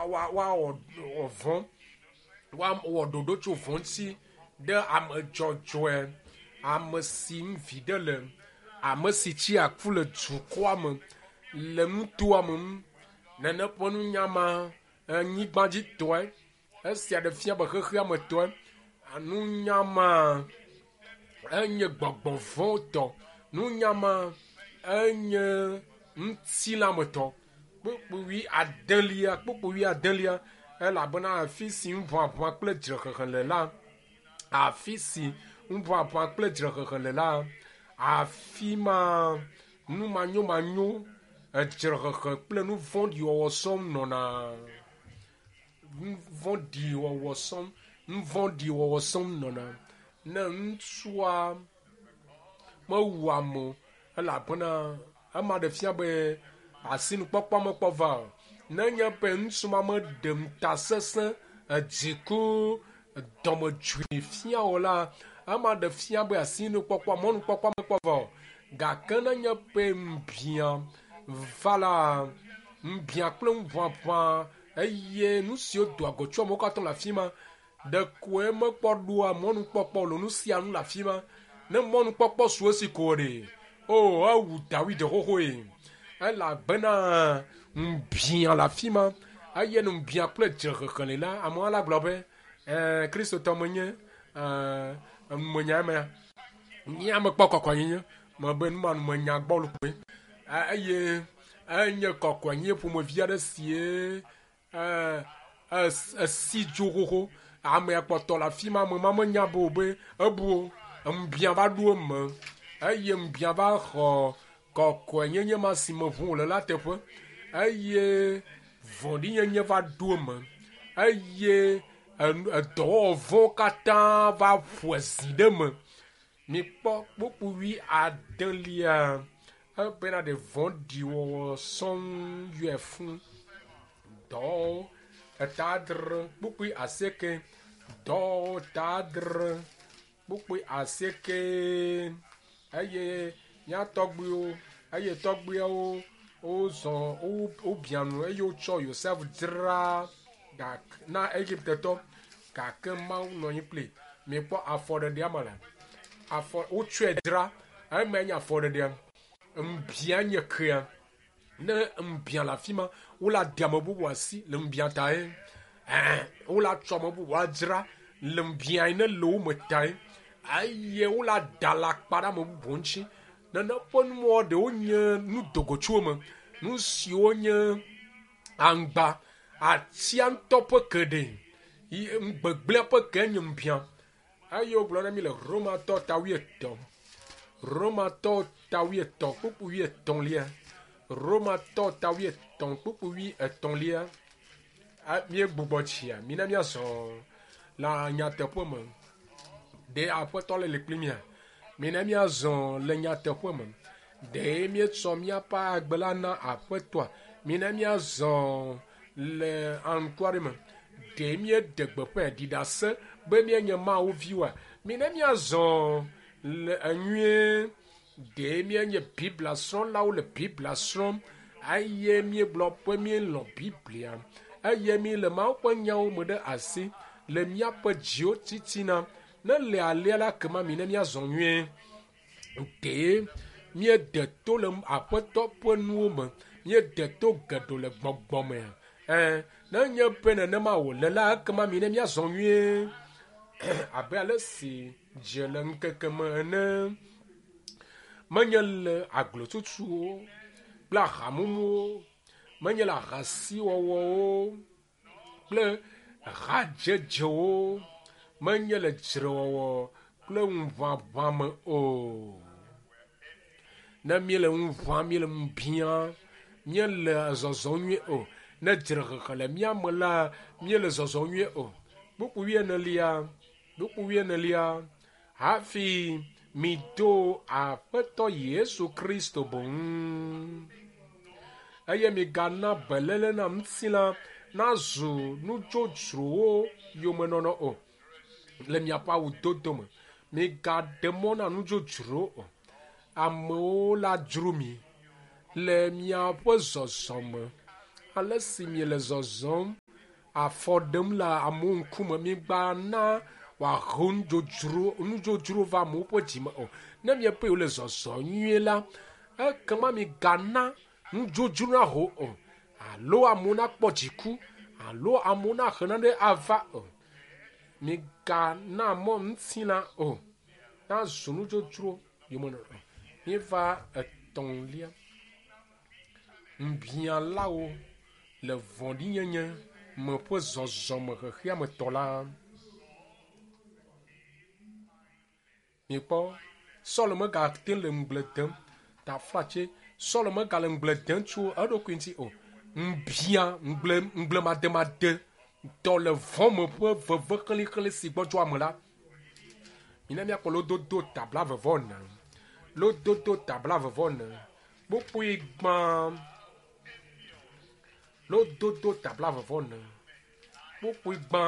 woawɔ vɔ̃, woawɔ ɖoɖo tso vɔ̃ ŋuti ɖe ame dzɔdzɔe, ame si ŋu viɖe le, ame si tsi aku le dukɔa me, le nutoa me ŋu. Nene ƒe nunya ma anyigbadzitɔe, esia ɖe fia be xexea me tɔe. Nunya ma enye gbɔgbɔ vɔ̃ tɔ. Nunya ma enye ŋutilãmetɔ. Kpukpui adelia, kpukpui adelia, elabena afi si ŋuʋaʋã kple dzrehehe le la, afi si ŋuʋaʋã kple dzrehehe le la, afi ma nu manyomanyo, edzrehehe kple nu vɔ̃ɖi wɔwɔ sɔŋ nɔna. Nu vɔ̃ɖi wɔwɔ sɔŋ, nu vɔ̃ɖi wɔwɔ sɔŋ nɔna. Ne ŋutsua mewu ame o elabena ema ɖe fia be asinukpɔkpɔ mekpɔ va o. Nenye be ŋutsu ma meɖe ŋutasesẽ, edziku, dɔmedzoe fia o la, ema ɖe fia be asinukpɔkpɔ, mɔnukpɔkpɔ mekpɔ va o. Gake nenye be ŋubiã va la, ŋubiã kple ŋuʋaʋã eye nu siwo doa go tso amewo katã le afi ma, ɖekoe mekpɔ ɖoa mɔnukpɔkpɔ o le nu sia nu le afi ma. Ne mɔnukpɔkpɔ su esi ko ɖe, o ewu Dawid xoxoe elabena ŋubiã le afi ma eye ŋubiã kple dzrehehe li la, amewo la gblɔ be ɛɛ Kristotɔ menye ɛɛ numenya emea. Nye ame kpɔ kɔkɔenyenye mebe nu ma numenya gbɔlo koe eye enye kɔkɔenyenye ƒomevi aɖe sie esi dzo xoxo. Amea kpɔtɔ le afi ma, ame ma menya be o be ebu o. Ŋubiã va ɖo eme eye ŋubiã va xɔ kɔkɔenyenye ma si me ʋu wòle la teƒe eye vɔ̃ɖinyenye va ɖo eme eye edɔwɔwɔ vɔ̃wo katã va ƒo zi ɖe eme. Mikpɔ kpukpui adelia ebena ɖe vɔ̃ɖiwɔwɔ sɔŋ yɔe fũ. Dɔwɔwɔwo eta adre kpukpui asieke. Dɔwɔwɔwo ta adre kpukpui asieke eye mía tɔgbuiwo eye tɔgbuiawo wozɔ wobia nu eye wotsɔ Yosef dzra na Egiptetɔ gake Mawu nɔ anyi kpli. Mikpɔ afɔɖeɖea me le. Afɔ wotsɔe dzra emae nye afɔɖeɖea. Ŋbia nye kea. Ne ŋbia le afi ma, wole ade ame bubu asi le ŋbia tae. Ɛɛ, wole atsɔ ame bubu adzra le ŋbia yi ne le wo me tae. Eye wole ada alakpa ɖe ame bubu ŋuti. Nene ƒe numɔ ɖewo nye nu dogotsuwo me. Nu siwo nye aŋgba, atia ŋutɔ ƒe ke ɖe. Gbegblẽa ƒe ke nye ŋbia. Eye wogblɔ na mi le Romatɔ ta wuietɔ̃. Romatɔ ta wuietɔ̃ kpukpui wuietɔ̃lia. Romatɔ ta wuietɔ̃ kpukpui wuietɔ̃lia. Míegbugbɔ tsia, mina míazɔ le nyateƒe me. Ɖe Aƒetɔ le li kpli mía? Mina míazɔ le nyateƒe me. Ɖe míetsɔ míaƒe agbe la na Aƒetɔa? Mina míazɔ le anukware me. Ɖe míeɖe gbeƒãe ɖi ɖase be míenye Mawu viwoa? Mina míazɔ le enyuie. Ɖe míenye Biblia srɔ̃lawo le Biblia srɔ̃m eye míegblɔ be míelɔ̃ Biblia eye míele Mawu ƒe nyawo me ɖe asi le míaƒe dziwo titina. Ne le alea la kema mi ne míazɔ nyuie. Ɖe míede to le Aƒetɔ ƒe nuwo me. Míede to geɖe le gbɔgbɔ me. Ɛ ne nye be nenema wòle la ekema mi ne míazɔ nyuie abe ale si dze le ŋkeke me ene. Menye le aglotutuwo kple ahamumuwo, menye le ahasiwɔwɔwo kple hadzedzewo, menye le dzrewɔwɔ kple ŋuʋaʋã me o. Ne míele ŋu ʋãm, míele ŋu biam, míele zɔzɔm nyuie o. Ne dzrehehe le mía me la, míele zɔzɔm nyuie o. Kpukpui wuienelia, kpukpui wuienelia, hafi mido Aƒetɔ Yesu Kristo boŋ. Eye migana beléle na ŋutilã nazu nudzodzrowo yomenɔnɔ o le miaƒe awudodo me. Migaɖe mɔ na nudzodzro o. Amewo la dzro mi le miaƒe zɔzɔme. Ale si miele zɔzɔm afɔ ɖem le amewo ŋkume. Migana wòahe nudzodzro va amewo ƒe dzime o. Ne miebe yewole zɔzɔ nyuie la, ekema migana nudzodzro naho o, alo amewo nakpɔ dziku, alo amewo nahe nane ava o. Migana mɔ ŋutilã o nazu nudzodzro yomenɔnɔ. Míeva etɔ̃lia. Ŋubiãlawo le vɔ̃ɖinyenye me ƒe zɔzɔme xexeametɔ la. Mikpɔ, Saul megate le ŋugble dem taflatse. Saul megale ŋugble dem tso eɖokui ŋuti o. Ŋubiã, ŋugble, ŋugblemademade tɔ le vɔ̃ me ƒe veve xlixli si gbɔdzɔ ame la. Mina míakpɔ lododo tabla vevɔ ne. Lododo tabla vevɔ ne. Kpukpui gbã. Lododo tabla vevɔ ne. Kpukpui gbã.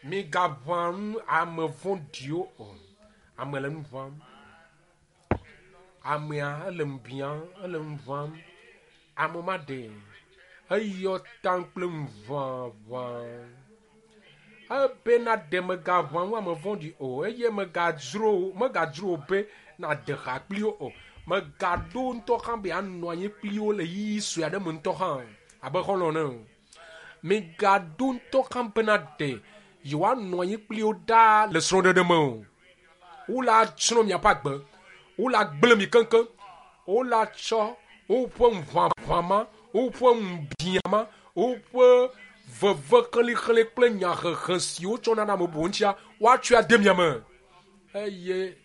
Migaʋã nu ame vɔ̃ɖiwo o. Ame le nu ʋãm. Amea ele nu biam, ele nu ʋãm. Ame ma ɖe eyɔ taŋ kple nu ʋaʋã. Ebena ɖe megaʋã nu ame vɔ̃ɖi o eye megadzro be nade ha kpli wo o. Megaɖo ŋutɔ hã be anɔ anyi kpli wo le ɣeyiɣi sue aɖe me ŋutɔ hã abe xɔlɔ̃ ene o. Megaɖo ŋutɔ hã bena ɖe yewoanɔ anyi kpli wo ɖaa le srɔ̃ɖeɖe me o. Wola tsrɔ̃ miaƒe agbe, wola gblẽ mi keŋkeŋ, wola tsɔ woƒe ŋuʋaʋã ma, woƒe ŋubiã ma, woƒe veve xlixli kple nyahehe si wotsɔna na ame bubuwo ŋutia, woatsɔe ade mia me. Eye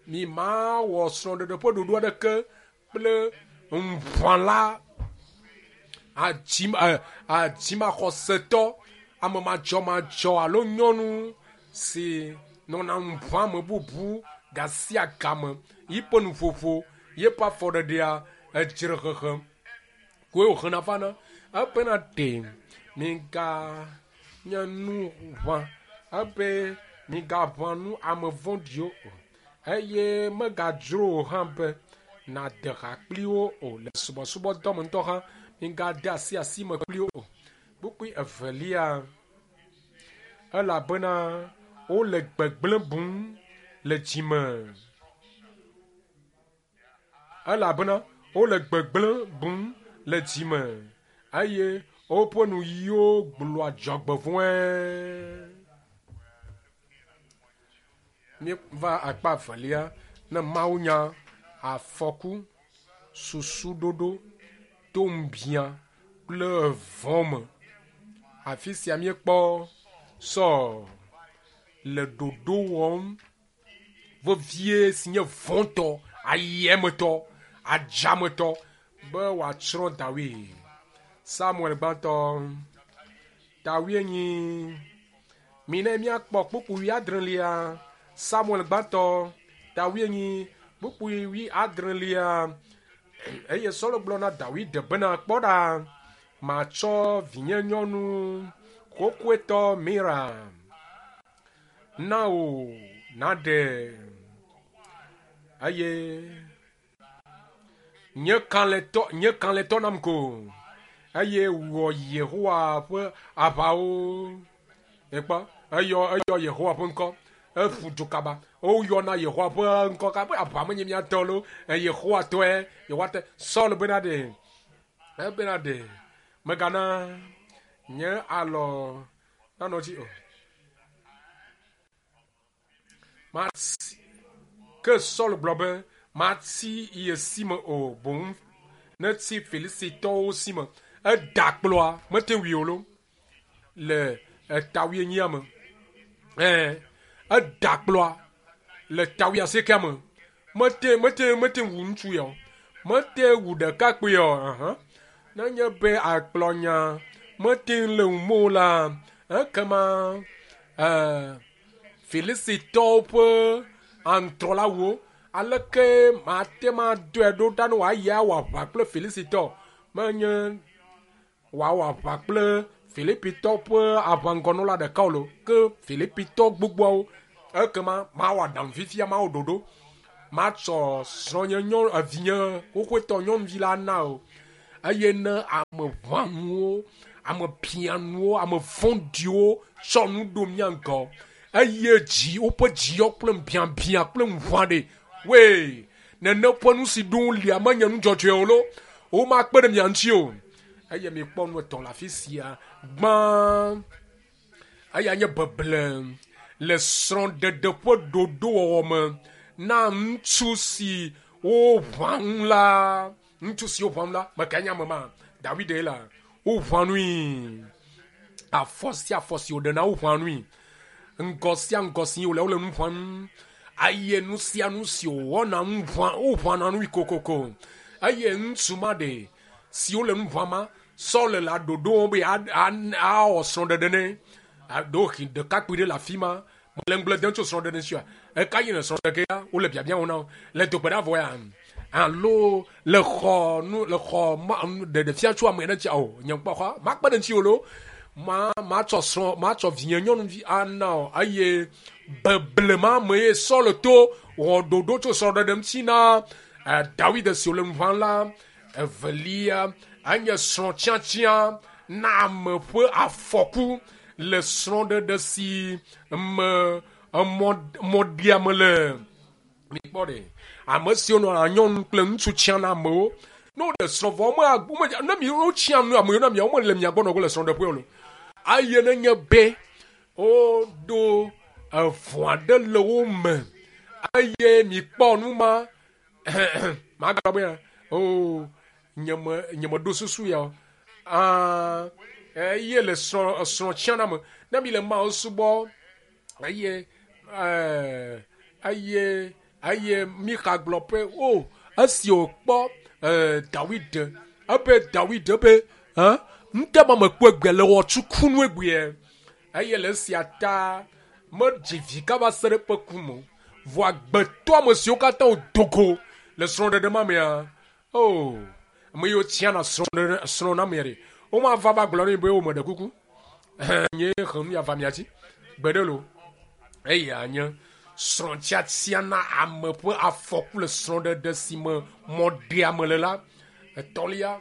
mi mawɔ srɔ̃ɖeɖe ƒe ɖoɖo aɖeke kple ŋuʋãla adzimaxɔsetɔ, ame madzɔmadzɔ alo nyɔnu si nɔna ŋuʋã ame bubu gasia game, yiƒe nuƒoƒo, yeƒe afɔɖeɖea, edzrehehe koe wòhena vana. Ebena ɖe miga nye nu ʋã, ebe migaʋã nu ame vɔ̃ɖiwo o, eye megadzro wò hã be nade ha kpli wo o le subɔsubɔdɔ me ŋutɔ hã migade asi asi me kpli wo o. Kpukpui evelia, elabena wole gbegblẽ bum le dzime. Elabena wole gbegblẽ bum le dzime eye woƒe nuyiwo gblɔa dzɔgbevɔ̃e. Míeva akpa evelia ne Mawu nya afɔku, susuɖoɖo, to ŋubiã kple vɔ̃ me. Afi sia míekpɔ Saul le ɖoɖo wɔm vevie si nye vɔ̃tɔ, ayiemetɔ, adzametɔ be wòatsrɔ̃ Dawid. Samuel gbãtɔ, Dawid nyi. Mina míakpɔ kpukpui wuiadrelia. Samuel gbãtɔ, Dawid nyi kpukpui wuiadrelia. Eye Saul gblɔ na Dawid bena, kpɔ ɖa, matsɔ vinye nyɔnu xoxoetɔ Mira na wò naɖe eye nye kalẽtɔ nam ko eye wɔ Yehowa ƒe aʋawo. Ekpɔ eyɔ Yehowa ƒe ŋkɔ, eƒu du kaba. Woyɔna Yehowa ƒe ŋkɔ kaba, aʋa menye mía tɔ lo, Yehowa tɔe, Yehowa tɔe. Saul bena ɖe, ebena ɖe, megana nye alɔ nanɔ dzi o. Mati, ke Saul gblɔ be, mati ye si me o, boŋ neti Filistitɔwo si me. Eda kplɔa, mete wui o lo, le eta wuienyia me. Eda kplɔa le ta wuiasiekea me. Mete wu ŋutsu ya o. Mete wu ɖekakpui o. Nenye be akplɔnya mete le ŋu mo la, ekema Filistitɔwo ƒe aŋutrɔlawo, aleke mate ma dɔe ɖo ɖa ne wòayi awɔ aʋa kple Filistitɔ? Menye wòawɔ aʋa kple Filipitɔ ƒe aʋaŋgɔnɔla ɖeka o lo, ke Filipitɔ gbogboawo. Ekema mawɔ aɖaŋu fifia, mawɔ ɖoɖo, matsɔ srɔ̃nye nyɔ, evinye xoxoetɔ nyɔnuvi la na o. Eye ne ame ʋãnuwo, ame bianuwo, ame vɔ̃ɖiwo tsɔ nu ɖo mía ŋgɔ eye dzi woƒe dziyɔ kple biabia kple ŋuʋã ɖe wee nene ƒe nu si ɖom lia menye nu dzɔdzɔe o lo womakpe ɖe mia ŋuti o. Eye mikpɔ nu etɔ̃ le afi sia. Gbã, eya nye beble le srɔ̃ɖeɖe ƒe ɖoɖowɔwɔ me na ŋutsu si woʋã ŋu la. Ŋutsu si woʋã ŋu la, mekae nye ame ma? Dawid ye la. Woʋã nui. Afɔ sia afɔ si wòɖena woʋã nui. Ŋgɔ sia ŋgɔ si wòle wole nu ʋãm. Eye nu sia nu si wòwɔna nu ʋã woʋãna nui kokoko. Eye ŋutsu ma ɖe si wole nu ʋãm ma, Saul le ɖoɖo wɔm be awɔ srɔ̃ɖeɖe nɛ. Ɖewohĩ ɖekakpui ɖe le afi ma mele ŋugble dem tso srɔ̃ɖeɖe ŋuti oa? Eka yi le srɔ̃ɖe ge ya wole biabia wɔm na wo le dogbe ɖa vɔ ya alo le xɔ nu le xɔ ma ɖeɖe fia tso ame ɖe ŋuti o nye ŋkpɔ xɔ makpe ɖe ŋuti o lo ma matsɔ srɔ̃ matsɔ vinye nyɔnuvi ana o eye beble ma me ye Saul to wɔ ɖoɖo tso srɔ̃ɖeɖe ŋuti na Dawid si wòle nu ʋãm la. Evelia enye srɔ̃tsiatsia na ame ƒe afɔku le srɔ̃ɖeɖe si me mɔɖiame le. Mikpɔ ɖe, ame siwo nɔna nyɔnu kple ŋutsu tsiã na amewo. Ne woɖe srɔ̃ vɔ, wome, ne mi wotsiã nu amewo na miawo mele mia gbɔ nɔ ge le srɔ̃ɖeƒe o. Eye nenye be woɖo evɔ̃ aɖe le wo me eye mikpɔ nu ma, magblɔ be o nye me ɖo susu ya o. Aa, eye le srɔ̃ srɔ̃ tsiã na me. Ne mi le Mawu subɔ eye eye eye Mixa gblɔ be o esi wòkpɔ Dawid ebe Dawid ebe ŋute ma mekpɔ egbe le wɔ tsukunu egbea eye le esia ta medzi vi kaba se ɖe eƒe ku me o. Vɔ agbetɔ ame siwo katã wodo go le srɔ̃ɖeɖe ma mea, o ame yiwo tsiana srɔ̃ɖeɖe srɔ̃ na mea ɖe, womava va gblɔ nɛ be wo meɖe kuku. Nye he nu ya va mia dzi gbeɖe lo. Eya nye srɔ̃tsiatsia na ame ƒe afɔku le srɔ̃ɖeɖe si me mɔɖeame le la. Etɔ̃lia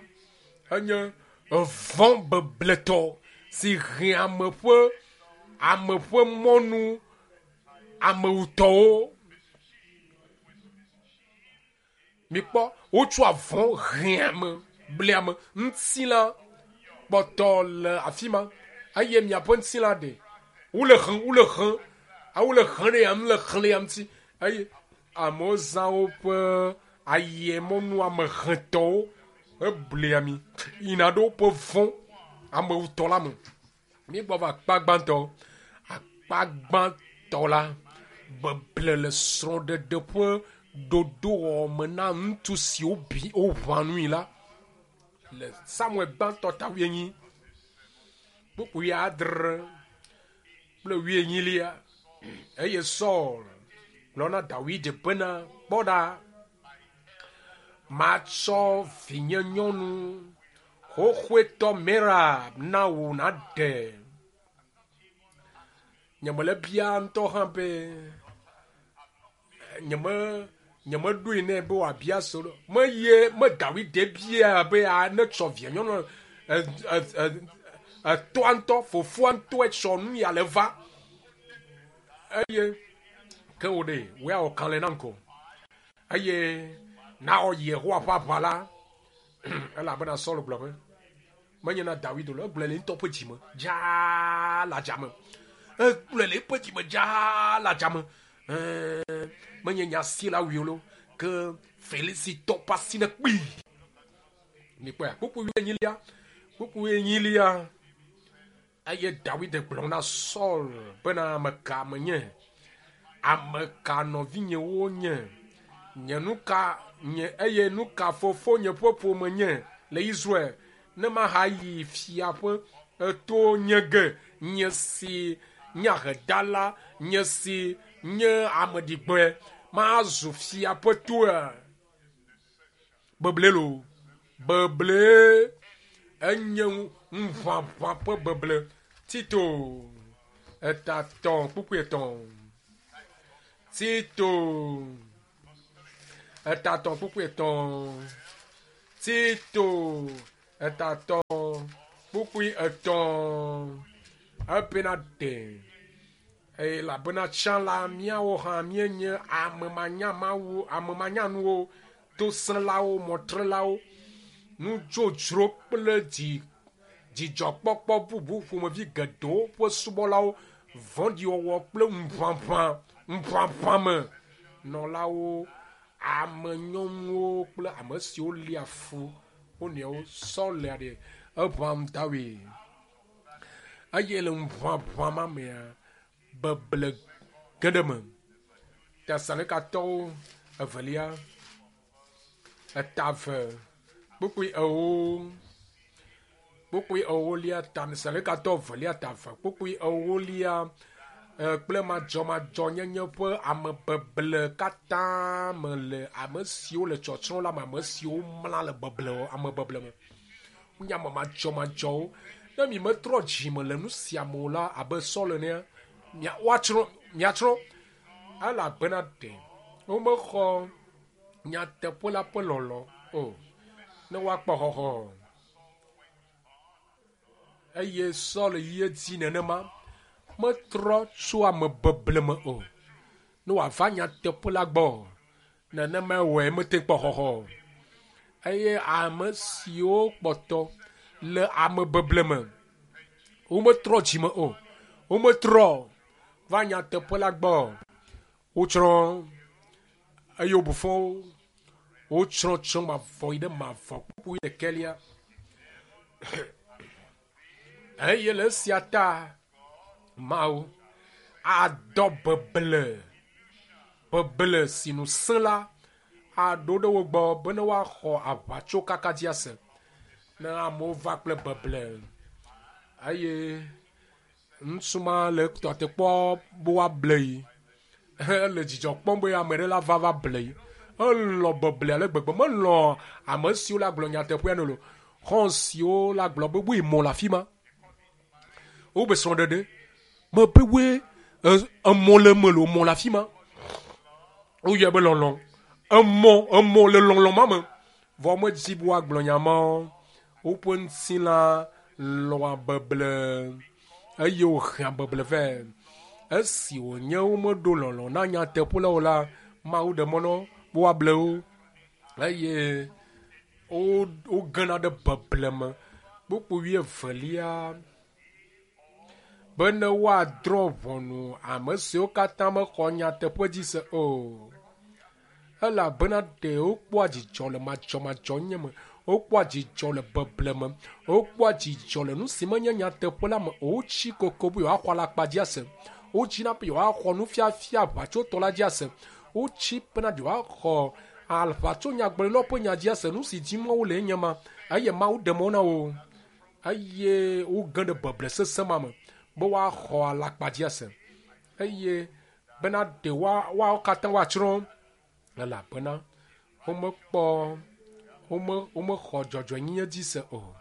enye vɔ̃ bebletɔ si he ame ƒe ame ƒe mɔnu amewutɔwo. Mikpɔ wotsɔa vɔ̃ hea ame, blea ame. Ŋutilã kpɔtɔ le afi ma eye miaƒe ŋutilã ɖe wole hem, wole hem, wole hem ɖe ya le xlẽ ya ŋuti eye amewo zã woƒe ayemɔnu amehetɔwo heblea mi yina ɖe woƒe vɔ̃ amewutɔ la me. Míegbɔ va akpa gbãtɔ. Akpa gbãtɔ la, beble le srɔ̃ɖeɖe ƒe ɖoɖowɔwɔ me na ŋutsu siwo bi woʋã nui la le Samuel gbãtɔ ta wuienyi kpukpui adre kple wuienyilia. Eye Saul gblɔ na Dawid bena, kpɔ ɖa, matsɔ vinye nyɔnu xoxoetɔ Merab na wò nàɖe. Nyemele bia ŋutɔ hã be nyeme nyemeɖoe nɛ be wòabia so meye me Dawid bia be ne tsɔ via nyɔnu etɔa ŋutɔ fofoa ŋutɔe tsɔ nu ya le va eye ke wò ɖe wò ya wɔ kalẽ nam ko eye nawɔ Yehowa ƒe aʋa la elabena Saul gblɔ be menye na Dawid o, egblɔe le ŋutɔ ƒe dzime dzaa le adzame. Egblɔe le eƒe dzime dzaa le adzame. Menye nya si la wui o lo, ke Filisitɔ ƒe asi ne kpii. Mikpɔe, kpukpui wuienyilia, kpukpui wuienyilia. Eye Dawid gblɔ na Saul bena, ame ka menye? Ame ka nɔvinyewo nye? Nye nu ka nye eye nu ka fofonye ƒe ƒome nye le Israel ne mahayi fia ƒe to nye ge nye si nye ahedala nye si nye ameɖigbe mazu fia ƒe toa? Beble lo, beble enye ŋuʋaʋã ƒe beble. Tito eta tɔ̃ kpukpui etɔ̃. Tito eta tɔ̃ kpukpui etɔ̃. Tito Etatɔ kpukpui etɔ̃ ebena ɖe elabena tsã la míawo hã míenye ame manyamawu ame manyanuwo tosẽlawo mɔtrelawo nudzodzro kple dzi dzidzɔkpɔkpɔ bubu ƒomevi geɖewo ƒe subɔlawo vɔ̃ɖiwɔwɔ kple ŋuʋaʋã ŋuʋaʋã me nɔlawo ame nyɔnuwo kple ame siwo lia fu wo nɔewo sɔ le ɖe eʋam dawoe eye le ŋuʋaʋã ma mea beble ge ɖe me Tesalonikawo evelia etave kpukpui ewo kpukpui ewolia Tesalonikatɔ evelia tave kpukpui ewolia kple madzɔmadzɔnyenye ƒe amebeble katã me le ame siwo le tsɔtsrɔ̃ la me ame siwo mla le beble amebeble me wonye ame madzɔmadzɔwo ne mi metrɔ dzime le nu sia me o la abe Saul enea woatsrɔ̃ miatsrɔ̃ elabena ɖe womexɔ nyateƒe la ƒe lɔlɔ o ne woakpɔ xɔxɔ eye Saul yi edzi nenema metrɔ tso amebeble me o ne wòava nyateƒe la gbɔ nenema wɔe mete kpɔ xɔxɔ o eye ame siwo kpɔtɔ le amebeble me wometrɔ dzime o wometrɔ va nyateƒe la gbɔ wotsrɔ̃ eye wobu fɔ wo wotsrɔ̃ tsrɔ̃ mavɔ yi ɖe mavɔ kpukpui ɖekɛlia eye le esia ta Mawu adɔ beble beble si nu sẽ la aɖo ɖe wo gbɔ bene woaxɔ aʋatsokaka dzi ase ne amewo va kple beble eye ŋutsu ma le tɔte kpɔ be woable yi ele dzidzɔ kpɔm be ame ɖe la va va ble yi elɔ beble ale gbegbe melɔ ame siwo la gblɔ nyateƒea ne lo xɔ siwo la gblɔ be woe mɔ le afi ma wobe srɔ̃ɖeɖe mebe woe emɔ le eme lo mɔ le afi ma woyɔe be lɔlɔ emɔ emɔ le lɔlɔ ma me vɔ medzi be woagblɔ nya ma woƒe ŋutilã lɔa beble eye wohea beble vɛ esi wònye womeɖo lɔlɔ na nyateƒe la o la Mawu ɖe mɔ na wo be woable wo eye wogena ɖe beble me kpukpui wuievelia bene woadrɔ̃ ʋɔnu ame siwo katã mexɔ nyateƒe dzi se o elabena ɖe wokpɔa dzidzɔ le madzɔmadzɔnyenye me wokpɔa dzidzɔ le beble me wokpɔa dzidzɔ le nu si menye nyateƒe la me o wotsi koko be yewoaxɔ alakpa dzi ase wotsina be yewoaxɔ nufiafia aʋatsotɔ la dzi ase wotsi bena yewoaxɔ aʋatso nyagblɔɖilawo ƒe nya dzi ase nu si dim wole enye ma eye Mawu ɖe mɔ na wo eye woge ɖe beble sesẽ ma me be woaxɔ alakpa dzi ase eye bena ɖe woawo katã woatsrɔ̃ elabena womekpɔ wome womexɔ dzɔdzɔenyenye dzi se o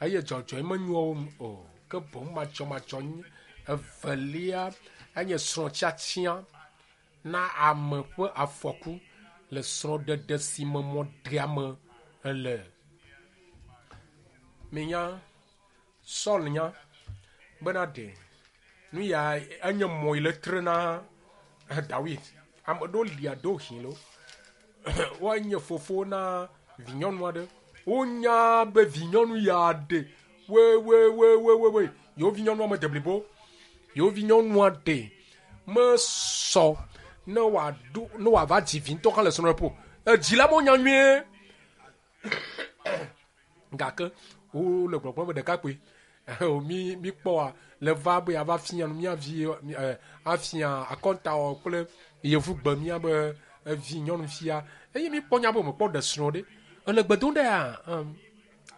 eye dzɔdzɔe menyoa wo ŋu o ke boŋ madzɔmadzɔnyenye evelia enye srɔ̃tiatia na ame ƒe afɔku le srɔ̃ɖeɖe si me mɔɖeame le. Minya Saul nya bena ɖe nu ya enye mɔ yi le tre na Dawid. Ame ɖewo lia ɖewo hin lo. Woanye fofo na vinyɔnu aɖe. Wonya be vinyɔnu ya ɖe wewewewewe yewo vinyɔnua mede blibo. Yewo vinyɔnua ɖe mesɔ ne wòaɖo ne wòava dzi vi ŋutɔ hã le srɔ̃ɖeƒe o. Edzi la menya nyuie. Gake wole gbɔgblɔm be ɖekakpui mi mi kpɔa le va be yeava fia nu mía vi afia akɔntawɔ kple yevugbe mía be vi nyɔnuvia eye mi kpɔ nya be mekpɔ ɖe srɔ̃ ɖe ele gbe dom ɖea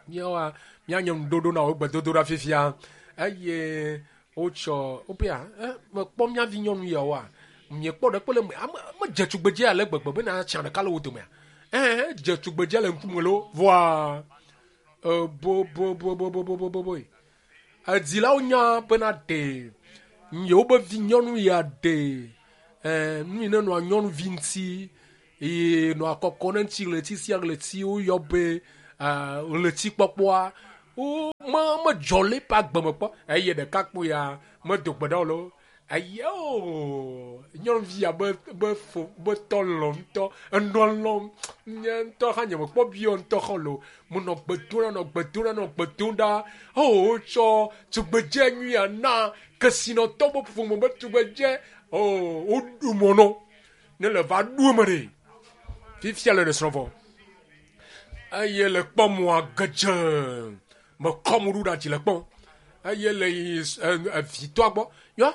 míawoa míanye ŋuɖoɖo na wo gbedodoɖa fifia eye wotsɔ wobea mekpɔ mía vi nyɔnu yawoa miekpɔ ɖe kple ame medze tugbedze ale gbegbe bena tsã ɖeka le wo domea ɛɛ dze tugbedze le ŋkume lo vɔa eboboboboboboboboe edzilawo nya bena ɖe yewo be vi nyɔnu ya ɖe ɛɛ nu yi ne nɔa nyɔnuvi ŋuti eye nɔa kɔkɔ ne ŋuti ɣleti sia ɣleti woyɔ be ɣletikpɔkpɔa wo me medzɔ le eƒe agbe me kpɔ eye ɖekakpuia medo gbe ɖa o lo. Eye o nyɔnuvi ya be be fo be tɔ lɔ̃ ŋutɔ enɔ lɔ̃m nye ŋutɔ hã nye mekpɔ biɔ ŋutɔ xɔ lo. Menɔ gbe dom ɖa nɔ gbe dom ɖa nɔ gbe dom ɖa. O wotsɔ tugbedze nyuia na kesinɔtɔ be ƒome be tugbedze. O woɖu mɔ nɔ ne le va ɖu eme ɖe. Fifia le ɖe srɔ̃ vɔ eye le kpɔ mɔa gedze mekɔ mo ɖu ɖe dzi le kpɔm eye le yi evitɔa gbɔ yɔ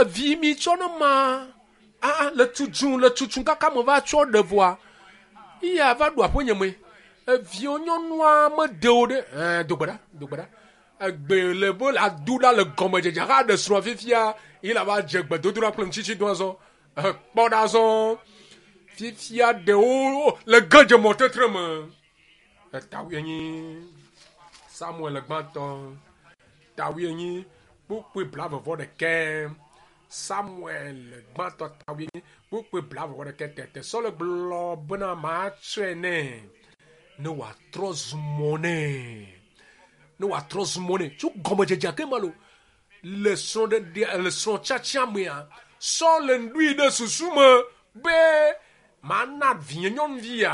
vi mi tsɔ ne ma a le tutum le tutum kaka me va tsɔ ɖe vɔa iya va ɖu aƒe nye me eviwo nyɔnua mede wo ɖe ɛɛ dogbe ɖa dogbe ɖa egbe le be la du ɖa le gɔmedzedze ha ɖe srɔ̃ fifia yi la va dze gbedodoɖa kple ŋutitsi do azɔ ekpɔ ɖa azɔ fifia ɖewo le gedze mɔtetre me etawoe nyi Samuel gbãtɔ tawoe nyi kpukpui blavevɔ ɖekɛ Samuel gbãtɔ tawoe nyi kpukpui blavevɔ ɖekɛ tete Saul gblɔ bena matsɔe nɛ ne wòatrɔ zu mɔ nɛ ne wòatrɔ zu mɔ nɛ tso gɔmedzedzea ke ma lo le srɔ̃ɖeɖe le srɔ̃tsatsia mea Saul ɖoe ɖe susu me be mana vinye nyɔnuvi ya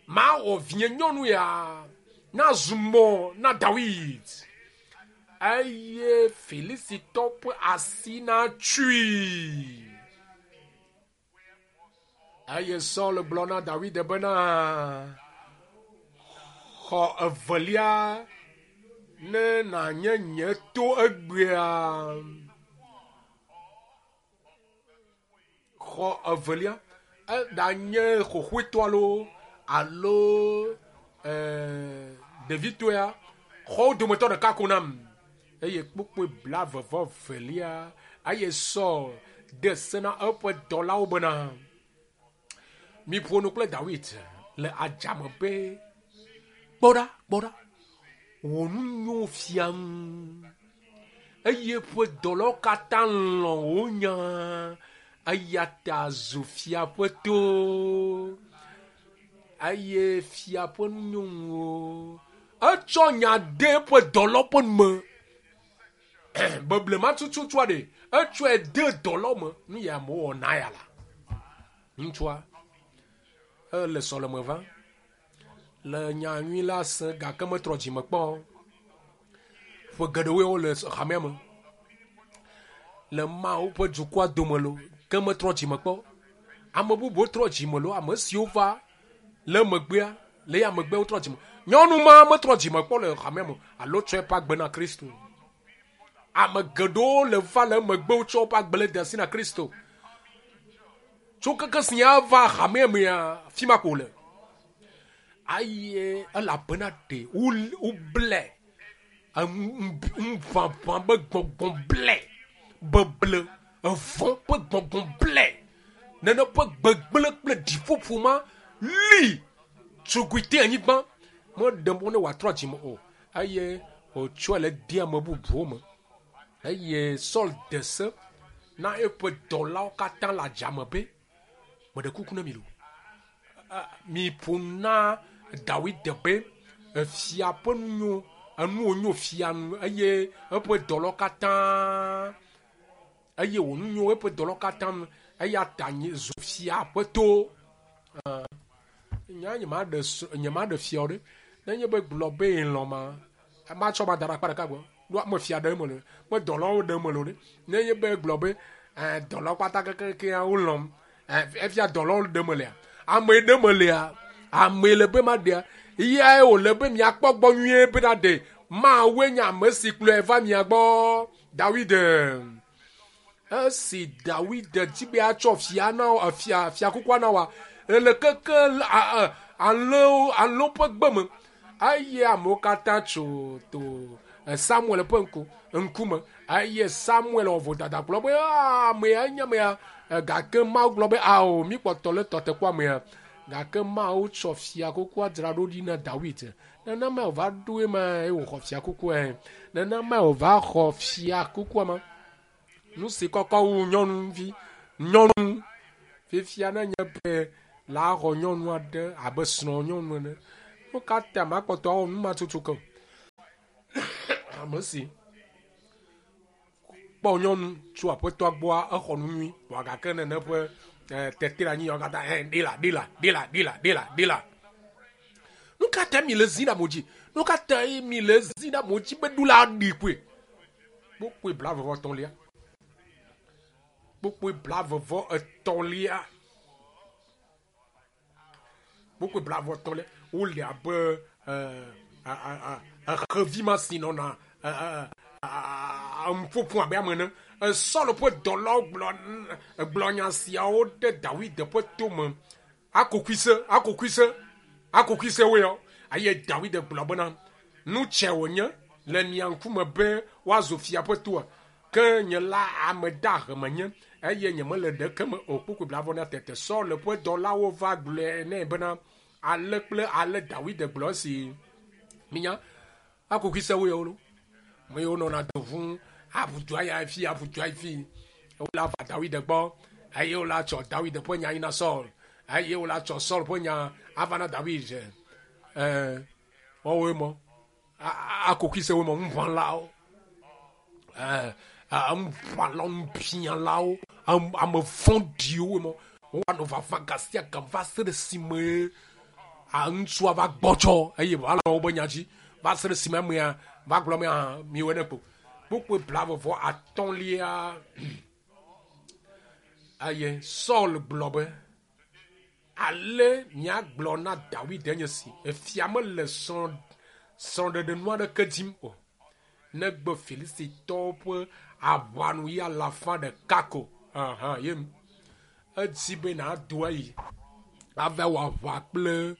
mawɔ vinye nyɔnu ya nazu mɔ na Dawid eye Filisitɔ ƒe asi natsui. Eye Saul gblɔ na Dawid bena xɔ evelia ne nànye nye to egbea. Xɔ evelia eɖanye xoxoetɔ alo alo ɖevitɔa xɔwo dometɔ ɖeka ko nam. Eye kpukpui blavevɔ velia eye Saul de se na eƒe dɔlawo bena miƒo nu kple Dawid le adzame be kpɔ ɖa kpɔ ɖa wò nu nyo fiam eye ƒe dɔlawo katã lɔ̃ wò nya eya ta zu fia ƒe to eye fia ƒe nu nyo ŋuwò. Etsɔ nya de eƒe dɔlawo ƒe nu me. Beblema tututua ɖe etsɔe de dɔlawo me nu ya amewo wɔna ya la. Ŋutsua ele sɔleme va le nya nyui la se gake metrɔ dzime kpɔ. Ƒe geɖewoe wole hamea me le Mawu ƒe dukɔa dome lo ke metrɔ dzime kpɔ. Ame bubuwo trɔ dzime lo ame siwo va le megbea le ya megbe wotrɔ dzime. Nyɔnu ma metrɔ dzime kpɔ le hamea me alo tsɔ eƒe agbe na Kristo. Ame geɖewo le va le megbe wotsɔ woƒe agbe le de asi na Kristo. Tso keke si ya va hamea mea fi ma ko le. Aye elabena ɖe woble ŋuʋaʋã be gbɔgbɔ ble beble evɔ̃ ƒe gbɔgbɔ ble nene ƒe gbegblẽ kple ɖiƒoƒo ma li tsogui te anyigba meɖe mɔ ne wòatrɔ dzime o eye wòtsɔe le de ame bubuwo me eye Saul de se na eƒe dɔlawo katã le adzame be meɖe kuku na mi lo miƒo na Dawid be efia ƒe nu nyo enuwo nyo fia nu eye eƒe dɔlawo katã eye wò nu nyo eƒe dɔlawo katã nu eya ta nye zu fia ƒe to. Nya nyemaɖe fia o ɖe nenye be gblɔ be lɔ̃ ma matsɔ ma da ɖe akpa ɖeka gbɔ ɖo ame fia ɖe eme le me dɔlawo ɖe eme le o ɖe nenye be gblɔ be dɔlawo kpata kekeakea wolɔ̃m efia dɔlawo ɖe eme lea ame ɖe eme lea ame le be ma ɖea eyae wòle be miakpɔ gbɔ nyuie be na ɖe Mawue nye ame si kplɔe va mia gbɔ Dawid. Esi Dawid di be atsɔ fia na fia fiakukua na wa le keke alẽwo alẽwo ƒe gbe me eye amewo katã tso to Samuel ƒe ŋku ŋkume eye Samuel wɔ vodada gblɔ be amea nye amea gake Mawu gblɔ be ao mi kpɔtɔ le tɔte kpɔ amea gake Mawu tsɔ fiakukua dzra ɖo ɖi na Dawid. Nenema wòva ɖo ema eye wòxɔ fiakukua nenema wòva xɔ fiakukua ma. Nu si kɔkɔ wu nyɔnuvi nyɔnu fifia ne nye be la xɔ nyɔnu aɖe abe srɔ̃ nyɔnu ene. Nu ka ta makpɔtɔ awɔ nu ma tutu ke o? Ame si kpɔ nyɔnu tso aƒetɔa gbɔa exɔ nu nyui vɔa gake nene ƒe tete ɖe anyi yawo katã ɛ ɖila ɖila ɖila ɖila ɖila ɖila. Nu ka ta mi le zi ɖe amewo dzi? Nu ka ta mi le zi ɖe amewo dzi be ɖula ɖi koe? Kpukpui blaeve vɔ etɔ̃lia. Kpukpui blaeve vɔ etɔ̃lia. Kpukpui blaeve vɔ etɔ̃lia. Wole abe xevi ma si nɔna ƒoƒo abe ame ene. Saul ƒe dɔlawo gblɔ nya siawo ɖe Dawid ƒe tome. Akokuise, akokuise, akokuise woe yɔ. Eye Dawid gblɔ bena, nu tsɛ wònye le mia ŋkume be woazu fia ƒe toa. Ke nye la ame dahe menye eye nyemele ɖeke me o. Kpukpui blaeve na tete Saul ƒe dɔlawo va gblɔe nɛ bena, ale kple ale Dawid gblɔ esi minya akokuise woe yɔ lo. Me yiwo nɔna do ʋu aʋu dua ya fi aʋu dua fi. Wola va Dawid gbɔ eye wola tsɔ Dawid ƒe nya yina Saul eye wola tsɔ Saul ƒe nya ava na Dawid. Wɔwoe mɔ akokuise woe mɔ ŋuʋãlawo. Ŋuʋãlawo, ŋubiãlawo, ame vɔ̃ɖiwo mɔ. Woanɔ vava gasia gam va se ɖe esime ŋutsua va gbɔdzɔ eye wòalɔ wobe nya dzi va se ɖe esime amea va gblɔ be miwɔe ne kpo. Kpukpui blaeve vɔ atɔ̃lia eye Saul gblɔ be ale miagblɔ na Dawid enye si efia mele srɔ̃ɖeɖe nu aɖeke dim o negbe Filistitɔwo ƒe aʋanu yi alafa ɖeka ko. Aha, ye edzi be nàdo ayi ava wɔ aʋa kple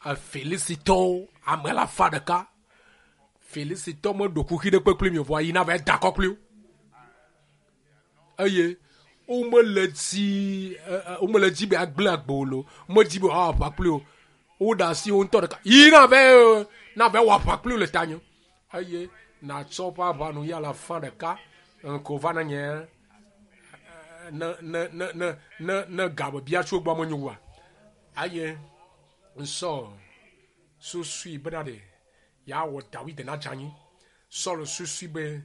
Filistitɔwo ame alafa ɖeka. Filistitɔ meɖo kuxi ɖe kpekpe mi o vɔa yina va da akɔ kpli wo. Eye womele dzi womele dzi be agblẽ agbe o lo. Womedzi be woawɔ aʋa kpli wo. Woɖe asi wo ŋutɔ ɖeka. Yi na va na va wɔ aʋa kpli wo le tanye. Eye nàtsɔ woƒe aʋanu yi alafa ɖeka ko va na nye ne ne ne ne ne ne gabe bia tso gbɔ menyo oa. Eye Saul susui bena ɖe yeawɔ Dawid nadze anyi. Saul susui be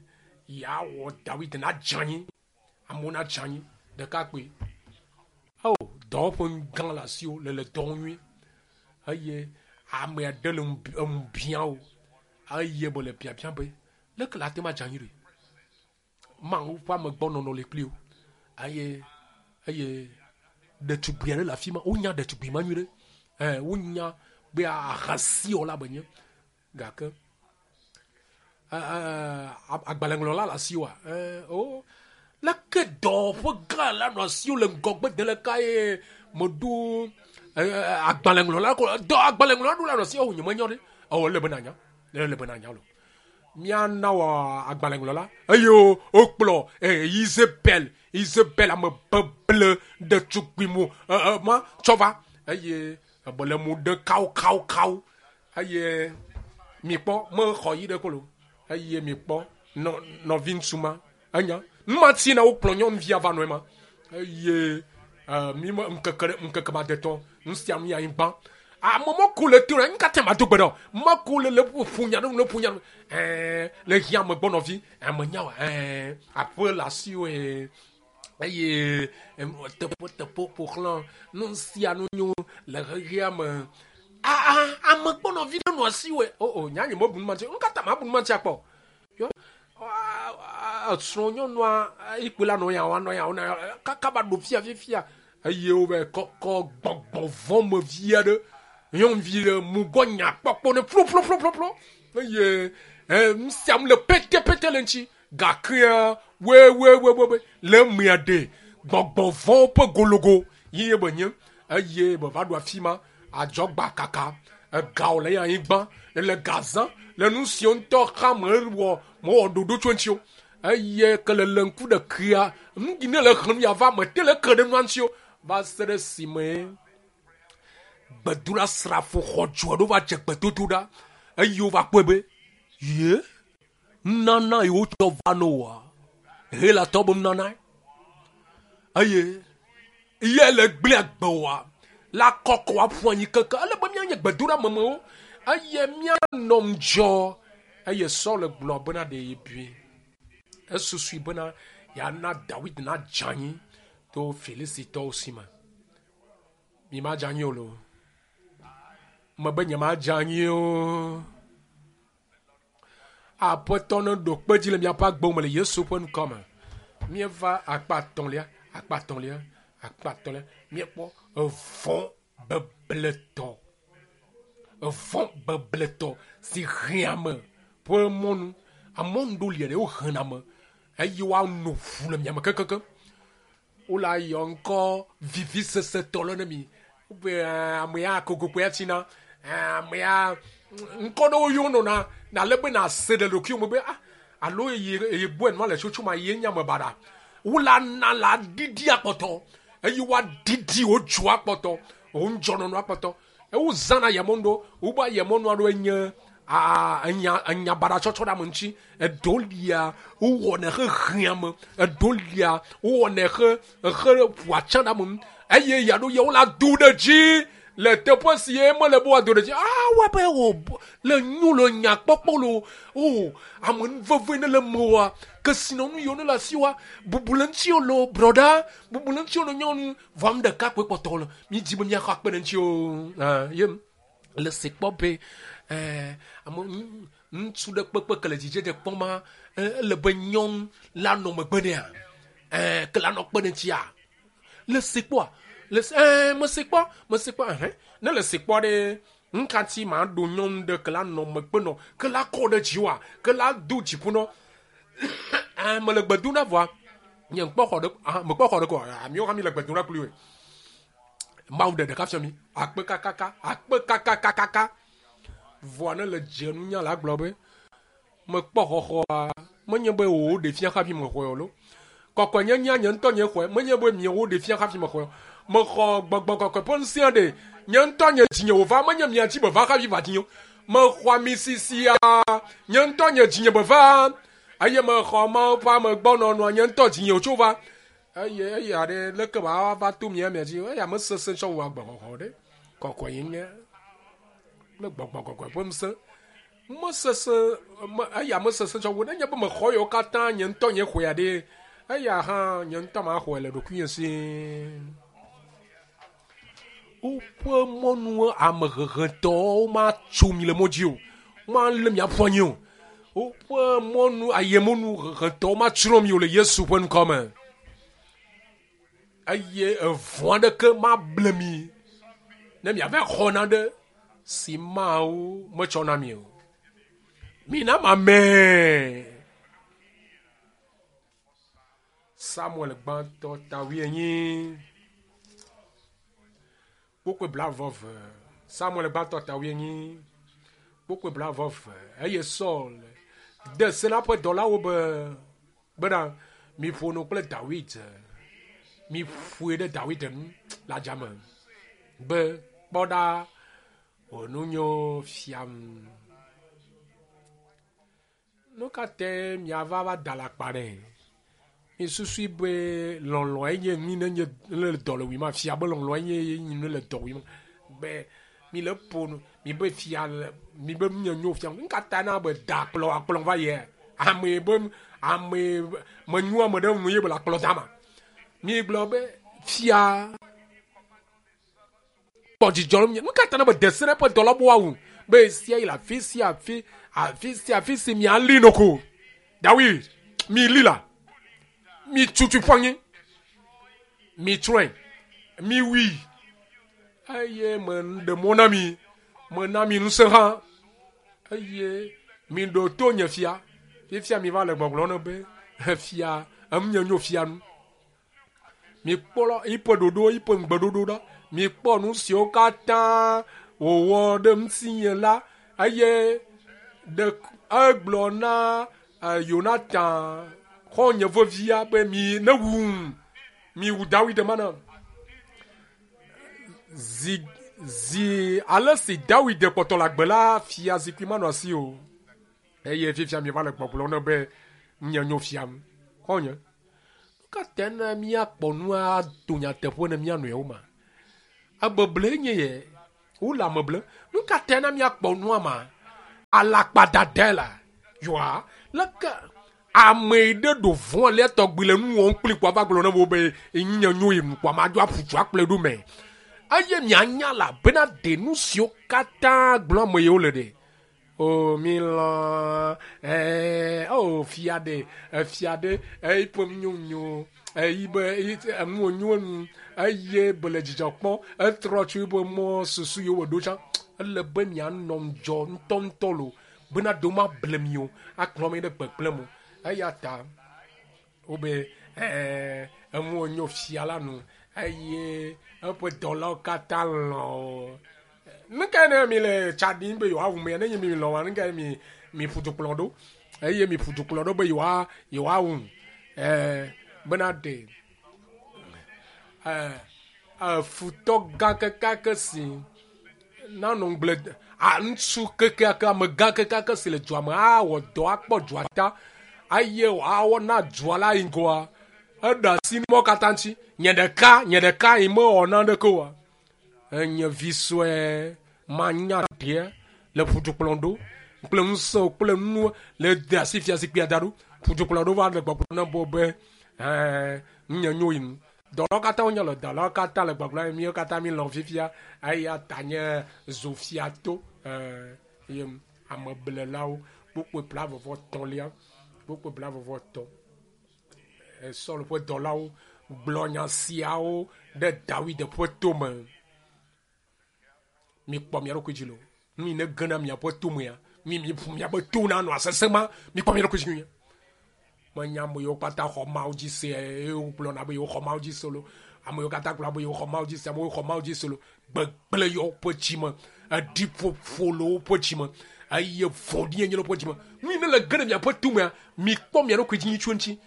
yeawɔ Dawid nadze anyi. Amewo nadze anyi ɖekakpui. Ao dɔwɔƒe gã le asiwò le le dɔ nyui eye ame aɖe le ŋu biã wò eye mele biabia be leke le ate ŋu adze anyi ɖo? Mawu ƒe amegbɔnɔnɔ le kpli wò eye eye ɖetugbui aɖe le afi ma. Wonya ɖetugbui ma nyui ɖe. Wonya be ahasiwɔla be nye gake agbalẽŋlɔla le asiwòa? O leke dɔwɔƒe gã la nɔ asiwò le ŋgɔgbe de leka ye meɖo agbalẽŋlɔla ko dɔ agbalẽŋlɔla ɖo la nɔ asiwò nye menyɔ ɖe. Ewɔ ele be nanya. Ele be nanya lo. Miana wɔ agbalẽŋlɔla eye wokplɔ Isabel Isabel ame beble ɖetugbui mu ma tsɔ va eye bele mu ɖe kawo kawo kawo eye mikpɔ mexɔ yi ɖe kolo eye mikpɔ nɔvi ŋutsu ma enya nu ma ti na wokplɔ nyɔnuvia va nɔ ema eye mi me ŋkeke ɖe ŋkeke ma detɔ nu sia nu ya anyigba ame mɔko le to na nu katã ma do gbe ɖe mɔko le le ƒo nya ɖe le ƒo nya ɖe le hiã ame gbɔ nɔvi ame nya wa aƒe le asiwò eye teƒe teƒe ƒo xlã nu sia nu nyo le xexea me. Ame gbɔ nɔvi ɖe nɔ asiwò o o nya nye mebu nu ma ŋuti nu katã ma bu nu ma ŋuti akpɔ yɔ srɔ̃ nyɔnua ikpe la nɔ ya wa nɔ ya wa nɔ kaka va ɖo fia fifia eye wo va kɔkɔ gbɔgbɔ vɔ me vi aɖe nyɔnuvi ɖe mugɔ nya kpɔkpɔ ne plo plo plo plo plo eye nu sia nu le pete pete le ŋuti gakea we we we we le mea ɖe gbɔgbɔ vɔwo ƒe gologo yi ye be nye eye be va ɖo afi ma adzɔgba kaka egawo le anyigba le gazã le nu siwo ŋutɔ xa me wɔ mewɔ ɖoɖo tso ŋuti o eye ke le le ŋku ɖe kea nu yi ne le xlẽm ya va me te le ke ɖe nua ŋuti o va se ɖe esime gbedoɖasrafo xɔdzo aɖewo va dze gbedodo ɖa eye wova kpɔe be ye nunana yi wotsɔ va no woa Helatɔ be nunana eye ye le gblẽ agbe woa La kɔkɔ aƒu anyi keke. Ele be míanye gbedoɖamemewo eye míanɔ ŋudzɔ. Eye Saul gblɔ bena ɖe yebui. Esusui bena yeana Dawid nadze anyi to Filistitɔwo si me. Mi madze anyi o loo. Mebe nyemadze anyi o. Aƒetɔ neɖo kpe dzi le miaƒe agbewo me le Yesu ƒe ŋkɔ me. Míeva akpa etɔ̃lia, akpa etɔ̃lia, akpa etɔ̃lia. Míekpɔ evɔ̃ bebletɔ, evɔ̃ bebletɔ si hea ame ƒe mɔnu. Amɔnu ɖewo lia ɖe wohena ame eye woano ʋu le miame kekeake. Wole ayɔ ŋkɔ vivisesetɔ le ne mi. Wobe ame ya kokokoe atsina. Ame ya ŋkɔ ɖewo yɔ nɔna nale be nase ɖe ɖokuiwò me be ah alo eye eye gbɔe nua le tsotso ma ye nye ame baɖa. Wole ana la ɖiɖi akpɔtɔ eye woaɖiɖi wo dzo akpɔtɔ, wo ŋudzɔnɔnɔ akpɔtɔ. Ewo zãna ayemɔnu ɖewo. Wobe ayemɔnu aɖewoe nye enya enya baɖa tsɔtsɔ ɖe ame ŋuti. Eɖewo lia wowɔnɛ hehea ame. Eɖewo lia wowɔnɛ he ehe ƒoa tsã ɖe ame ŋu eye ya ɖo ya wole ado ɖe dzi le teƒe si ye mele be woado ɖe dzi. Ah wɔ be wò le nyo le nya kpɔkpɔ lo. O ame nuveve ne le mewòa kesinɔnu yiwo ne le asiwòa bubu le ŋutiwò lo brɔɖa bubu le ŋutiwò le nyɔnu. Vɔ ame ɖeka koe kpɔtɔ le mi dzi be míaxɔ akpe ɖe ŋuti o. Ah, ye le se kpɔ be eh, ame ŋutsu ɖe kpekpe ke le dzidzedze kpɔm ma ele be nyɔnu la nɔ megbe nɛa eh, ke la nɔ kpe ɖe ŋutia le se kpɔa le se eh, mese kpɔ mese kpɔ ɛhɛn ne le se kpɔ ɖe ŋkati ma ɖo nyɔnu ɖe ke la nɔ megbe nɔ ke la kɔ ɖe dziwòa ke la do dziƒo nɔ eh, mele gbe dom ɖa vɔa nye ŋkpɔ xɔ ɖe ah, mekpɔ xɔ ɖe ko ah, miwo hã mi le gbe dom ɖa kpli woe Mawu ɖe ɖeka fia mi akpe kakaka akpe kakakakaka vɔa ne le dze nunya la gblɔ be mekpɔ xɔxɔa menye be wò ɖe fia hafi mexɔe o lo kɔkɔenyenyea nye ŋutɔ nye xɔe menye be miawo ɖe fia hafi mexɔe o mexɔ gbɔgbɔ kɔkɔe ƒe ŋusẽa ɖe nye ŋutɔ nye dzinye wòva menye mia dzi be va hafi va dzinye o mexɔ amisisia nye ŋutɔ nye dzinye be va eye mexɔ Mawu ƒe amegbɔnɔnɔa nye ŋutɔ dzinye wòtso va eye eya ɖe leke wòava va to mia mia dzi eya mesesẽ tsɔ wu agbexɔxɔ ɖe kɔkɔenyenye kple gbɔgbɔ kɔkɔe ƒe ŋusẽ mesesẽ me eya mesesẽ tsɔ wu nenye be mexɔ yewo katã nye ŋutɔ nye xɔe ɖe eya hã nye ŋutɔ maxɔe le ɖokuinye si. Woƒe mɔnu amehehetɔwo matso mi le mɔ dzi o, womalé mi aƒu anyi o. Woƒe mɔnu ayemɔnu hehetɔwo matsrɔ̃ mi o le Yesu ƒe ŋkɔ me. Eye evɔ̃ aɖeke mable mi ne miava xɔ nane si Mawu metsɔ na mi o. Mina mame. Samuel gbãtɔ ta wuienyi. Kpukpui blaeve. Samuel gbãtɔ ta wuienyi. Kpukpui blaeve. Eye Saul de se na eƒe dɔlawo be bena miƒo nu kple Dawid. Miƒoe ɖe Dawid nu le adzame be kpɔ ɖa wò nu nyo fiam. Nu ka tae miava va da le akpa ɖe? Misusui be lɔlɔ̃e nye nu ne nye ne le dɔ le wui ma fia be lɔlɔ̃e nye nu ne le dɔ wui ma be mi le ƒo nu mi be fia le mi be nu nye nyo fia nu ka ta na be da akplɔ akplɔ va yia ame be ame menyo ame ɖe ŋu ye be le akplɔ dama mi gblɔ be fia kpɔ dzidzɔ ɖe nu ka ta na be de se ɖe eƒe dɔla be woawu be sia yi le afi sia afi afi sia afi si miali nɔ ko Dawid mi li la mi tutu ƒu anyi mi tsrɔ̃e mi wui eye me ɖe mɔ na mi me na mi ŋusẽ hã eye mi ɖo to nye fia fifia mi va le gbɔgblɔ ne be fia enu nye nyo fia nu. Mikpɔ yiƒe ɖoɖo, yiƒe ŋugbeɖoɖo ɖa. Mikpɔ nu siwo katã wòwɔ ɖe ŋutinye la eye ɖe egblɔ na Yonatan xɔ̃nye vevia be mi ne wum, miwu Dawid mana. Zi zi ale si Dawid kpɔtɔ le agbe la, fiazikpui manɔ asi o. Eye fifia mieva le gbɔgblɔm ne be nye nyo fiam. Xɔ̃nye, nu ka tae na míakpɔ nu ado nyateƒe ne mía nɔewo ma? Abeble nye ye. Wole ame ble. Nu ka tae na míakpɔ nua ma? Alakpadadae la. Yɔa, leke ame ɖe ɖo vɔ̃ alea tɔgbi le nu wɔm kpli kpoa va gblɔ ne wo be nye nyo yi nu kpoa madzo aƒu du akplɔe ɖo me. Eye mianya la bena ɖe nu siwo katã gblɔm ame yiwo le ɖe. O mi lɔ̃ ɛɛ o fia ɖe efia ɖe eƒe nyonyo eyi be enu nyo enu eye be le dzidzɔ kpɔm etrɔ tso eƒe mɔ susu yiwo wòɖo tsã. Ele be mianɔ ŋudzɔ ŋutɔŋutɔ lo bena ɖewo mable mi o akplɔ mi ɖe gbegblẽ me o. Eya ta wobe ɛɛ enuwo nyo fia la nu eye eƒe dɔlawo katã lɔ̃ o. Nu kae ne mi le tsa ɖim be yewoawu mea? Ne nye mi lɔ̃ wa, nu kae mi mi ƒu du kplɔ ɖo? Eye mi ƒu du kplɔ ɖo be yewoa yewoawu ɛɛ bena ɖe ɛɛ futɔ gã kekeake si nanɔ ŋugble a ŋutsu kekeake amegã kekeake si le dua me awɔ dɔ akpɔ dua ta eye wòawɔ na dua la yi ŋgɔa eɖe asi mɔ katã ŋuti. Nye ɖeka nye ɖeka yi mewɔ naneke oa. Enye vi sue manya ɖe le ƒudukplɔ ɖo kple ŋusẽ kple nu le de asi fiazikpuia da ɖo. Ƒudukplɔ ɖo va le gbɔgblɔ na bo be ɛɛ nye nyo yi nu. Dɔlawo katã wonye le dɔlawo katã le gbɔgblɔ míwo katã mi lɔ̃ fifia eya ta nye zofiato ɛɛ ye ameblelawo kpukpui blavɔvɔ tɔ̃lia kpukpui blavɔvɔ tɔ̃. Saul ƒe dɔlawo gblɔ nya siawo ɖe Dawid ƒe tome. Mikpɔ mia ɖokui dzi lo. Nu yi ne gena miaƒe tomea, mi mi ƒu miaƒe to na nɔ sesẽ ma, mikpɔ mia ɖokui dzi nyuie. Menya ame yiwo katã xɔ Mawu dzi se eye wogblɔna be yewoxɔ Mawu dzi se lo. Ame yiwo katã gblɔna be yewoxɔ Mawu dzi se, amewo xɔ Mawu dzi se lo. Gbegblẽ yɔ woƒe dzi me, eɖiƒoƒo le woƒe dzi me eye vɔ̃ɖi enye le woƒe dzi me. Nu yi ne le ge ɖe miaƒe tomea, mikpɔ mia ɖokui dzi nyuie tso eŋuti.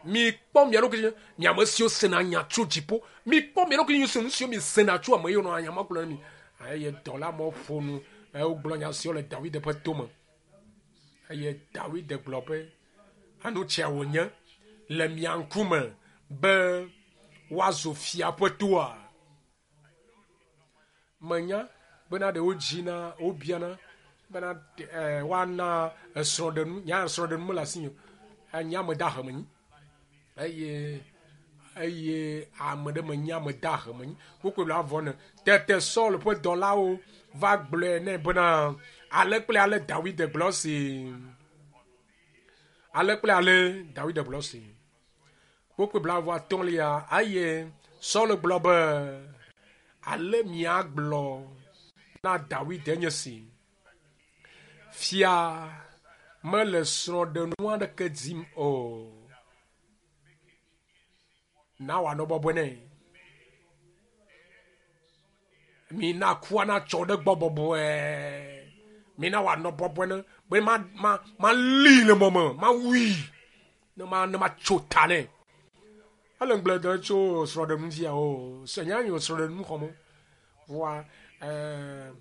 Mikpɔ mia ɖokui dzi, mi ame siwo sena nya tso dziƒo. Mikpɔ mia ɖokui dzi nu siwo mi sena tso ame yiwo nɔa nya ma gblɔm na mi. Eye dɔla mawo ƒo nu eye wogblɔ nya siwo le Dawid ƒe tome. Eye Dawid gblɔ be enu tsia wònye le mia ŋkume be woazu fia ƒe toa. Menya bena ɖe wodzina wobiana bena ɛɛ woana esrɔ̃ɖenu nya srɔ̃ɖenu mele asinye o. Nye ame dahe menyi eye eye ame ɖe menye ame dahe menyi. Kpukpui blavɔ ne tete Saul ƒe dɔlawo va gblɔe nɛ bena ale kple ale Dawid gblɔ si. Ale kple ale Dawid gblɔ si. Kpukpui blavɔ atɔ̃lia eye Saul gblɔ be ale miagblɔ na Dawid enye si. Fia mele srɔ̃ɖenu aɖeke dim o. Na wòanɔ bɔbɔe nɛ. Mina kua natsɔ ɖe gbɔ bɔbɔe. Mina wòanɔ bɔbɔe ne be ma ma malii le mɔ me, mawui ne ma ne matso ta nɛ. Ele ŋugble dem tso srɔ̃ɖenu ŋuti o. Nya nyo srɔ̃ɖenu xɔm o. Vɔa ɛɛ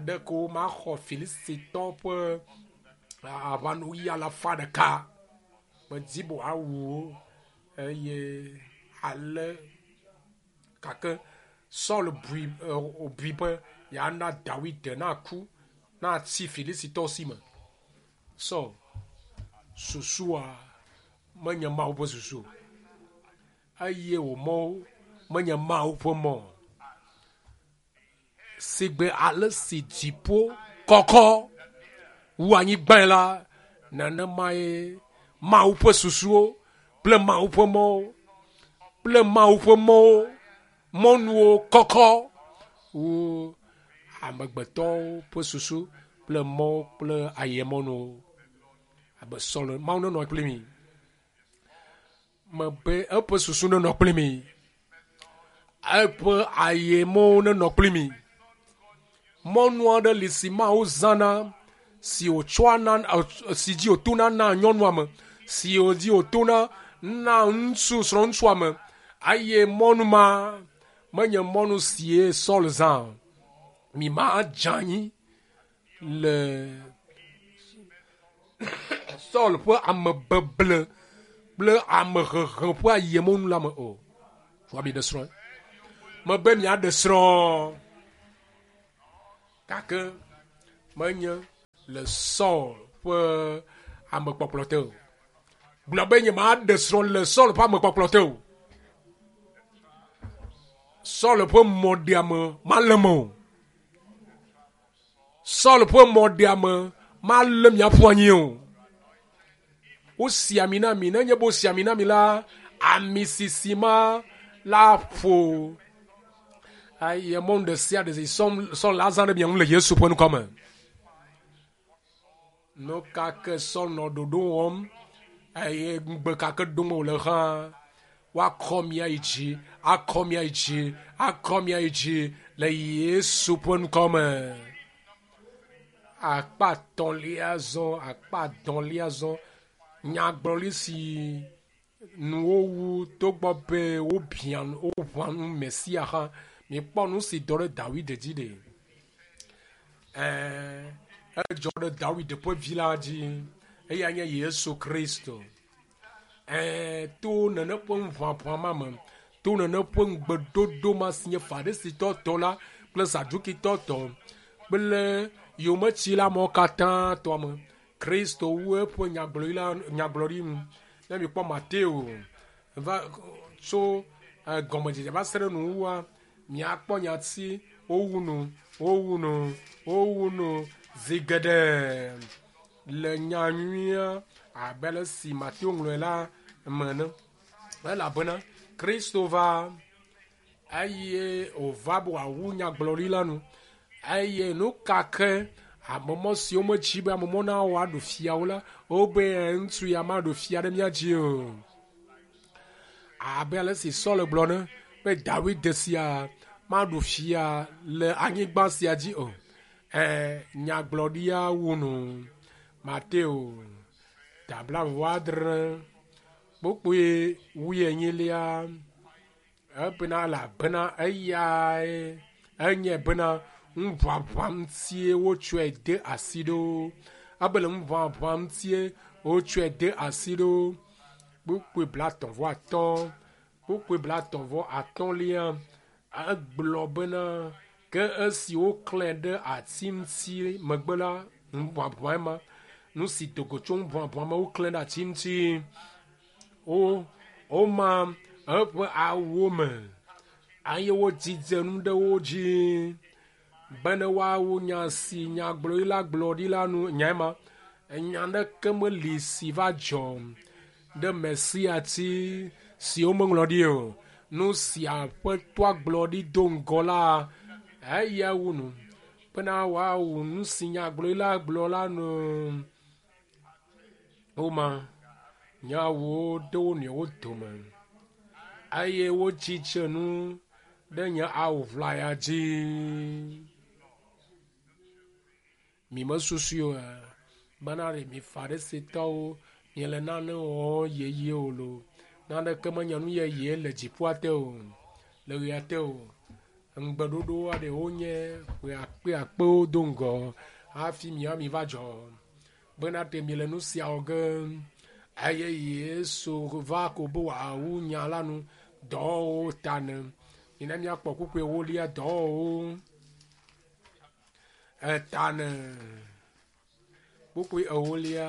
ɖeko maxɔ Filistitɔ ƒe aʋanuyi alafa ɖeka. Medi be wòawu wo eye ale gake Saul bui bui be yeana Dawid naku natsi Filistitɔwo si me. Saul susua menye Mawu ƒe susu o eye wò mɔwo menye Mawu ƒe mɔ o. Sigbe ale si dziƒo kɔkɔ wu anyigbae la, nenemae Mawu ƒe susuwo kple Mawu ƒe mɔwo kple Mawu ƒe mɔwo mɔnuwo kɔkɔ wu amegbetɔwo ƒe susu kple mɔwo kple ayemɔnuwo. Abe Saul, Mawu nenɔ kpli mi. Mebe eƒe susu nenɔ kpli mi. Eƒe ayemɔwo nenɔ kpli mi. Mɔnu aɖe li si Mawu zãna si wòtsɔa na si dzi wòtona na nyɔnua me, si dzi wòtona na ŋutsu srɔ̃ŋutsua me eye mɔnu ma menye mɔnu sie Saul zã o. Mi ma dze anyi le Saul ƒe amebeble kple amehehe ƒe ayemɔnu la me o. Woabi ɖe srɔ̃e. Mebe miaɖe srɔ̃. Gake menye le Saul ƒe amekpɔkplɔ te o. Gblɔ be nyemaɖe srɔ̃ le Saul ƒe amekpɔkplɔ te o. Saul ƒe mɔɖeame malé me o. Saul ƒe mɔɖeame malé miaƒu anyi o. Wosi ami na mi. Nenye be wosi ami na mi la, ami sisi ma la ƒo. Eye mɔnu ɖe sia ɖe si Saul la zã ɖe mia ŋu le Yesu ƒe ŋkɔ me. Nu ka ke Saul nɔ ɖoɖo wɔm eye ŋugbe ka ke dom wòle hã, woakɔ mia yi dzi, akɔ mia yi dzi, akɔ mia yi dzi le Yesu ƒe ŋkɔ me. Akpa etɔ̃lia zɔ, akpa adɔ̃lia zɔ, nyagblɔɖi si nu wowu togbɔ be wobiã woʋã nu Mesia hã. Mikpɔ nu si dɔ ɖe Dawid dzi ɖe. Ɛɛ, edzɔ ɖe Dawid ƒe vi la dzi. Eya nye Yesu Kristo. Ɛɛ, to nene ƒe ŋuʋaʋã ma me, to nene ƒe ŋugbedodo ma si nye Farisitɔ tɔ la kple Sadukitɔ tɔ kple yometsila mawo katã tɔ me, Kristo wu eƒe nyagblɔɖi la nyagblɔɖi nu. Ne mikpɔ Mateo va tso gɔmedzedze va se ɖe nuwuwua, miakpɔ nyati wowu nu, wowu nu, wowu nu zi geɖe le nya nyuia abe ale si Mateo ŋlɔe la me ene. Elabena Kristo va eye wòva be wòawu nyagblɔɖi la nu. Eye nu ka ke amemɔ siwo medzi be amemɔ nawɔ aɖu fiawo la, wobe ŋutsu ya maɖu fia ɖe mía dzi o. Abe ale si Saul gblɔ ne be Dawid sia maɖu fia le anyigba sia dzi o. Ɛ nyagblɔɖia wu nu. Mateo ta blaeve-vɔ-adre kpukpui wuienyilia ebena elabena eyae enye bena ŋuʋaʋã ŋutie wotsɔe de asi ɖo. Ebe le ŋuʋaʋã ŋutie wotsɔe de asi ɖo. Kpukpui blatɔ̃ vɔ atɔ̃, kpukpui blatɔ̃ vɔ atɔ̃lia egblɔ bena ke esi woklãe ɖe ati ŋuti megbe la, ŋuʋaʋã ma, nu si do go tso ŋuʋaʋã me woklãe ɖe ati ŋuti. Wo woma eƒe awuwo me eye wodzidze nu ɖe wo dzi bene woawu nya si nyagblɔɖila gblɔ ɖi la nu. Nyae ma, enya ɖeke meli si va dzɔ ɖe Mesia ti si womeŋlɔ ɖi o. Nu si Aƒetɔa gblɔ ɖi do ŋgɔ la, eya wu nu bena woawu nu si nyagblɔɖila gblɔ la nu. Woma nye awuwo ɖe wo nɔewo dome eye wodzidze nu ɖe nye awu ʋlaya dzi. Mi mesusui o bena ɖe mi Farisitɔwo miele nane wɔm yeye o lo. Naneke menye nu yeye le dziƒoa te o, le ɣea te o. Ŋugbeɖoɖo aɖe wonye ƒe akpe akpewo do ŋgɔ hafi mia mi va dzɔ. Bena ɖe miele nu sia wɔ ge eye Yesu va ko be wòawu nya la nu dɔwɔwɔwo ta ne. Mina míakpɔ kpukpui ewolia dɔwɔwɔwo eta ne. Kpukpui ewolia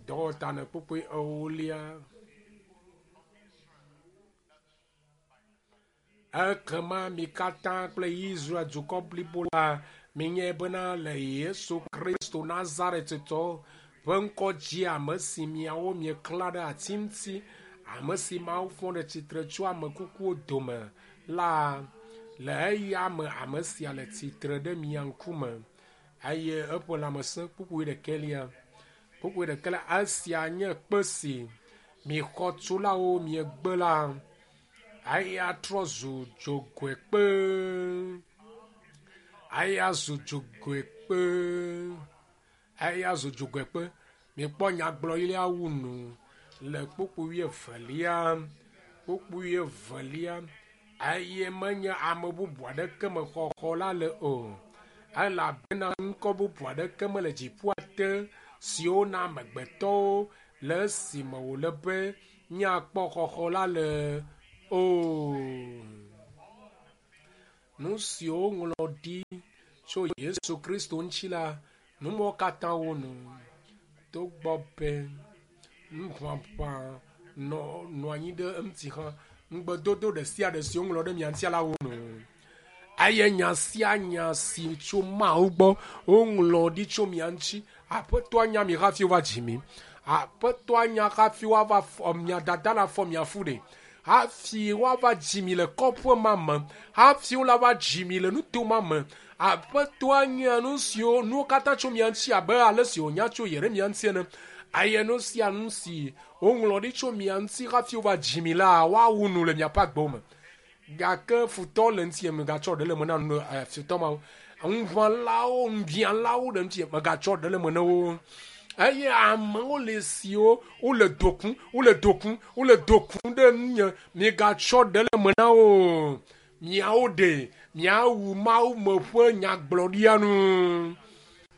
dɔwɔwɔ ta ne kpukpui ewolia. Ekema mi katã kple Israel dukɔ blibo la minyae bena le Yesu Kristo Nazaretitɔ ƒe ŋkɔ dzi ame si miawo mieklã ɖe ati ŋuti, ame si Mawu fɔ ɖe tsitre tso ame kukuwo dome la, le eya me ame sia le tsitre ɖe mia ŋkume eye eƒe lãmesẽ kpukpui ɖekɛlia. Kpukpui ɖekɛlia esia nye kpe si mi xɔtulawo miegbe la, eya trɔ zu dzogoekpe. Eya zu dzogoekpe. Eya zu dzogoekpe. Mikpɔ nyagblɔɖilia wu nu le kpukpui wuievelia. Kpukpui wuievelia eye menye ame bubu aɖeke me xɔxɔ la le o. Elabena ŋkɔ bubu aɖeke mele dziƒoa te siwo na amegbetɔwo le esime wòle be míakpɔ xɔxɔ la le o. Nu siwo woŋlɔ ɖi tso Yesu Kristo ŋuti la, nu mawo katã wonu. Togbɔ be nuʋaʋã nɔ nɔ anyi ɖe eŋuti hã, ŋugbedodo ɖe sia ɖe si woŋlɔ ɖe mia ŋuti la wonu. Eye nya sia nya si tso Mawu gbɔ woŋlɔ ɖi tso mia ŋuti, Aƒetɔa nya mi hafi wova dzi mi. Aƒetɔa nya hafi woava fɔ mia dada la fɔ mia fu ɖe. Hafi woava dzi mi le kɔƒe ma me. Hafi woava dzi mi le nuto ma me. Aƒetɔa nya nu siwo nuwo katã tso mia ŋuti abe ale si wònya tso Yeremia ŋuti ene. Eye nu sia nu si woŋlɔ ɖi tso mia ŋuti hafi wova dzi mi la, woawu nu le miaƒe agbewo me. Gake futɔ le ŋuti megatsɔ ɖe le me na nu futɔ mawo. Ŋuʋãlawo, ŋubiãlawo ɖe ŋuti megatsɔ ɖe le me na wo. Eye amewo le siwo wole dokum, wole dokum, wole dokum ɖe ŋunye. Migatsɔ ɖe le me na wo. Miawo ɖe miawu Mawu me ƒe nyagblɔɖia nu.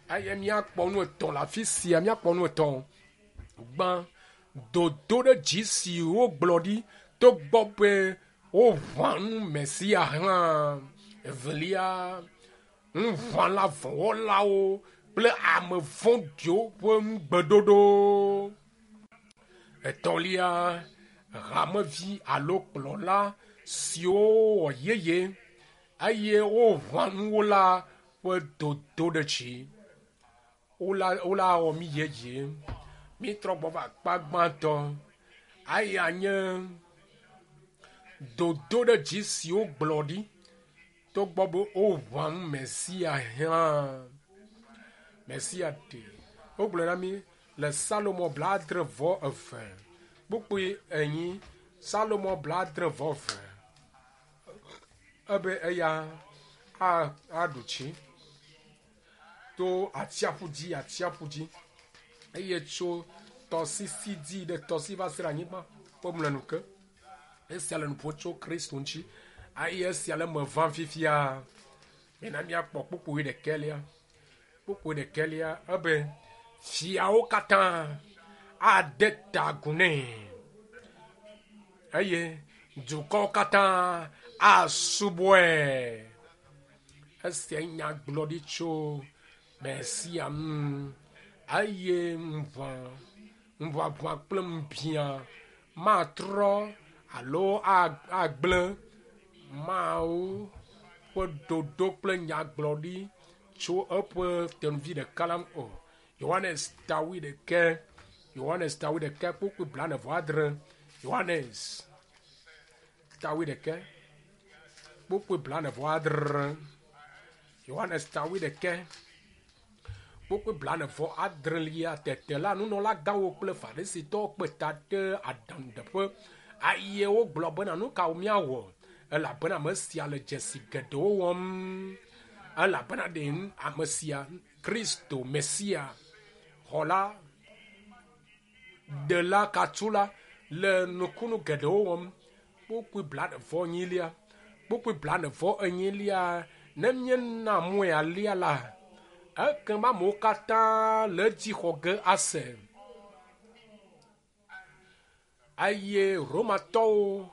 Eye míakpɔ nu etɔ̃ le afi sia, míakpɔ nu etɔ̃. Gbã, dodo ɖe dzi si wogblɔ ɖi togbɔ be woʋã nu Mesia hã. Evelia, nuʋãla vɔ̃wɔlawo kple ame vɔ̃ɖiwo ƒe nugbeɖoɖo. Etɔ̃lia, hamevi alo kplɔla siwo wɔ yeye eye woʋã nuwo la ƒe dodo ɖe dzi. Wola wɔ mí yeye. Mítrɔ gbɔ va akpa gbãtɔ. Eya nye dodo ɖe dzi si wogblɔ ɖi togbɔ be woʋã nu Mesia hã. Mesia ɖe. Wogblɔ na mí le Salomo 70 kpukpui 4. Salomo 70 ebe eya aɖu tsi to atsiaƒu dzi atsiaƒu dzi eye tso tɔsisi dzi ɖe tɔsi va se ɖe anyigba ƒe mlɔenu ke. Esia le nu ƒom tso Kristo ŋuti eye esia le eme vam fifia. Mina míakpɔ kpukpui ɖekɛlia. Kpukpui ɖekɛlia ebe fiawo katã ade ta agu nɛ eye dukɔwo katã asubɔe. Esia nyagblɔɖi tso Mesia ŋu eye ŋuʋaʋã kple ŋubiã matrɔ alo agblẽ Mawu ƒe ɖoɖo kple nyagblɔɖi tso eƒe tenuvi ɖeka la ŋu o. Yohanes ta 21, Yohanes ta 21 kpukpui 46. Yohanes ta 21 kpukpui 46. Yohanes ta 21 kpukpui 46. Tete la nunɔlagãwo kple Farisitɔwo kpe ta ɖe aɖaŋuɖeƒe eye wogblɔ bena nu kawo míawɔ elabena ame sia le dzesi geɖewo wɔm. Elabena ɖe ame sia Kristo Mesia xɔla ɖela katsula le nukunu geɖewo wɔm. Kpukpui 44. Kpukpui 44 ne míena mɔe alia la, ekema amewo katã le edzi xɔ ge ase. Eye Romatɔwo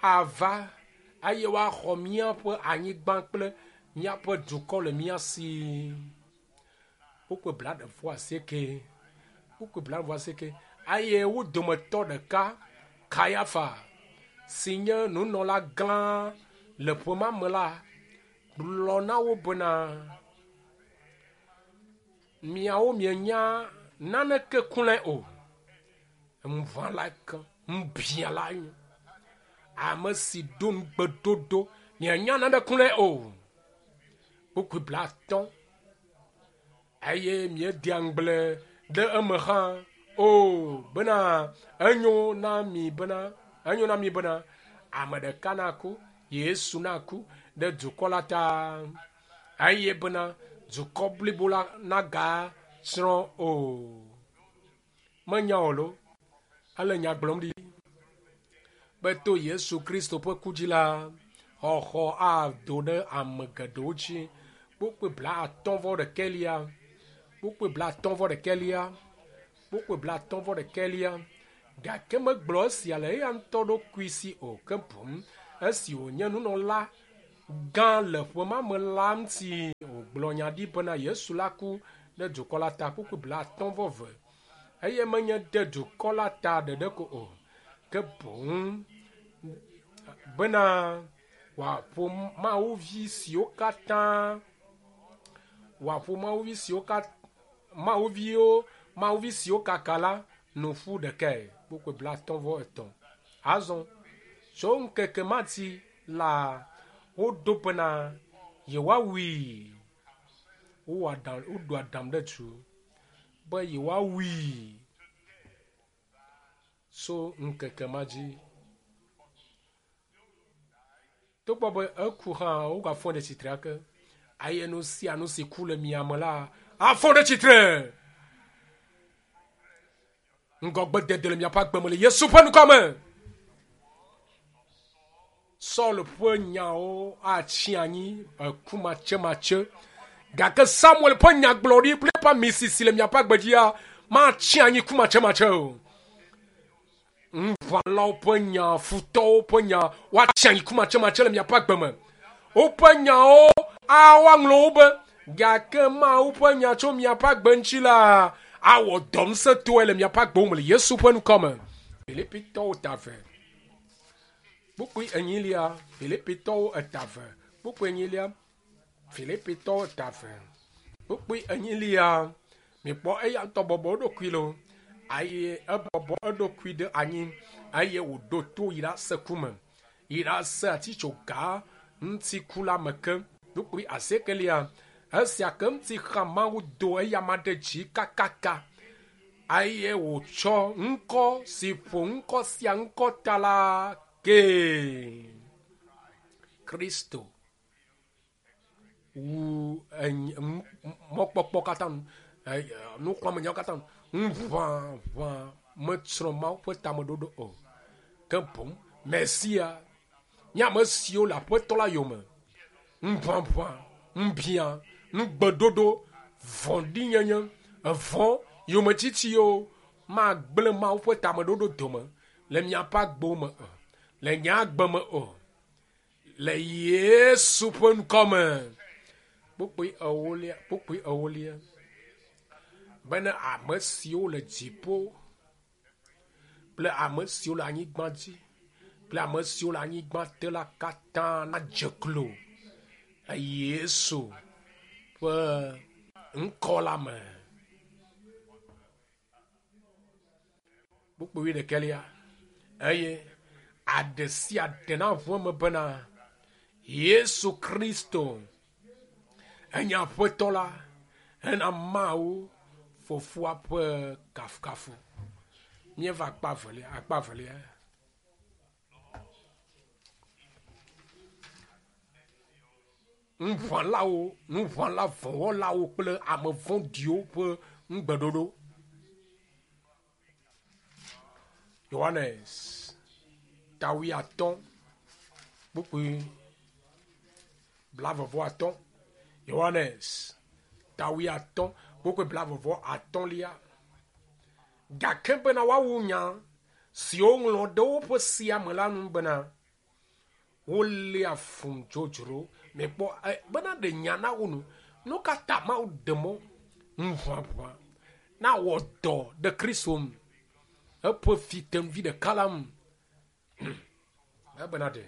ava eye woaxɔ míaƒe anyigba kple míaƒe dukɔ le mía si. Kpukpui 88. Kpukpui 88. Eye wo dometɔ ɖeka, Kayafa, si nye nunɔla gã le ƒe ma me la, gblɔ na wo bena, miawo mienya naneke klɔe o. Ŋuʋãla ke, ŋubiãla nye. Ame si ɖo nugbeɖoɖo, mienya nane klɔe o. Kpukpui 50. Eye miedea ŋugble ɖe eme hã o bena enyo na mi bena enyo na mi bena ame ɖeka naku, Yesu naku ɖe dukɔ la ta eye bena dukɔ blibo la nagatsrɔ̃ o. Menya o lo. Ele nya gblɔm ɖi be to Yesu Kristo ƒe ku dzi la, xɔxɔ ado ɖe ame geɖewo dzi. Kpukpui 56. Kpukpui 56. Kpukpui 56. Gake megblɔ esia le eya ŋutɔ ɖokui si o, ke boŋ esi wònye nunɔla gã le ƒe ma me la ŋuti wògblɔ nya ɖi bena Yesu la ku ɖe dukɔ la ta kpukpui 50 eve. Eye menye ɖe dukɔ la ta ɖeɖe ko o, ke boŋ bena wòaƒo mawuvi siwo katã wòaƒo mawuvi siwo katã mawuviwo mawuvi siwo kaka la nu ƒu ɖekae kpukpui 53. Azɔ tso ŋkeke ma dzi la woɖo bena yewoawui. Wowɔ aɖaŋ woɖo aɖaŋu ɖe du be yewoawui tso ŋkeke ma dzi. Togbɔ be eku hã wogafɔ ɖe tsitre ake. Eye nu sia nu si ku le mia me la afɔ ɖe tsitre. Ŋgɔgbedede le miaƒe agbe me le Yesu ƒe ŋkɔ me. Saul ƒe nyawo atsi anyi eku matsematse gake Samuel ƒe nyagblɔɖi kple eƒe amisisi le miaƒe agbe dzia matsi anyi ku matsematse o. Ŋuʋãlawo ƒe nya, futɔwo ƒe nya woatsi anyi ku matsematse le miaƒe agbe me. Woƒe nyawo awoaŋlɔ wo be gake Mawu ƒe nya tso miaƒe agbe ŋuti la awɔ dɔ ŋusẽtɔe le miaƒe agbewo me le Yesu ƒe ŋkɔ me. Filipitɔwo ta ve. Kpukpui enyilia, Filipitɔwo eta ve. Kpukpui enyilia, Filipitɔwo eta ve. Kpukpui enyilia, mikpɔ eya ŋutɔ bɔbɔ eɖokui lo eye ebɔbɔ eɖokui ɖe anyi eye wòɖo to yi ɖase ku me yi ɖase atitsoga ŋuti ku la me ke. Kpukpui asiekelia, esia ke ŋuti xa Mawu do eyama ɖe dzi kakaka eye wòtsɔ ŋkɔ si ƒo ŋkɔ sia ŋkɔ ta la kee. Kristo wu mɔkpɔkpɔ katã nu, nuxlɔ̃amenyawo katã nu. Ŋuʋaʋã metsrɔ̃ Mawu ƒe tameɖoɖo o. Ke boŋ Mesia nye ame siwo le Aƒetɔ la yome. Ŋuʋaʋã, ŋubiã, nugbeɖoɖo, vɔ̃ɖinyenye, evɔ̃, yometsitsiwo magblẽ Mawu ƒe tameɖoɖo dome le miaƒe agbewo me o, le nye agbe me o, le Yesu ƒe ŋkɔ me. Kpukpui ewolia, kpukpui ewolia bena ame siwo le dziƒo kple ame siwo le anyigba dzi kple ame siwo le anyigba te la katã nadze klo le Yesu ƒe ŋkɔ la me. Kpukpui wuiɖekɛlia eye aɖe sia ɖe naʋu eme bena Yesu Kristo enye Aƒetɔ la hena Mawu Fofoa ƒe kafukafu. Míeva akpa evelia, akpa evelia. Ŋuʋãlawo, ŋuʋãla vɔ̃wɔlawo kple ame vɔ̃ɖiwo ƒe ŋugbeɖoɖo. Yohanes ta wuiatɔ̃ kpukpui blaeve-vɔ-atɔ̃. Yohanes ta wuiatɔ̃ kpukpui blaeve-vɔ-atɔ̃lia. Gake bena woawu nya siwo woŋlɔ ɖe woƒe sea me la nu bena, Woléa fum dzodzro. Mikpɔ bena ɖe nya na wo nu. Nu ka ta Mawu ɖe mɔ ŋuʋaʋã nawɔ dɔ ɖe Kristo ŋu? Eƒe fitenuvi ɖeka la ŋu. Ebena ɖe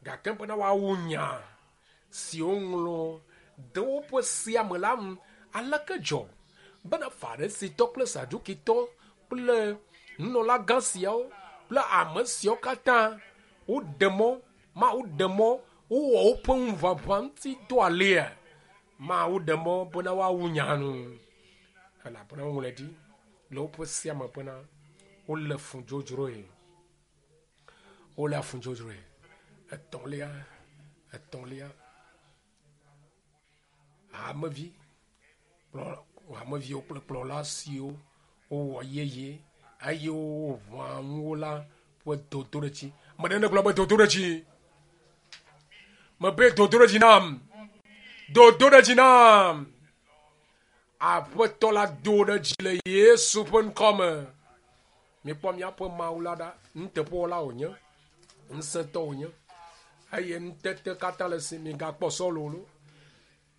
gake bena woawu nya si woŋlɔ ɖe woƒe sea me la ŋu. Aleke dzɔ bena Farisitɔ kple Sadukitɔ kple nunɔlagã siawo kple ame siawo katã woɖe mɔ, Mawu ɖe mɔ wowɔ woƒe ŋuʋaʋã ŋuti dɔ alea? Mawu ɖe mɔ bena woawu nya nu, elabena woŋlɔe ɖi le woƒe sea me bena wolé fu dzodzroe. Wolé fu dzodzroe. Etɔ̃lia, etɔ̃lia, hamevi kplɔ hameviwo kple kplɔla siwo wowɔ yeye eye woʋã ŋu wo la ƒe dodoɖedzi. Ame ɖe negblɔ be dodoɖedzi. Mebe dodoɖedzi nam. Dodoɖedzi nam. Aƒetɔ la do ɖe dzi le Yesu ƒe ŋkɔ me. Mikpɔ míaƒe Mawu la ɖa, nuteƒewɔla wònye, ŋusẽtɔ wònye eye nutete katã le esi. Migakpɔ Sɔlu o.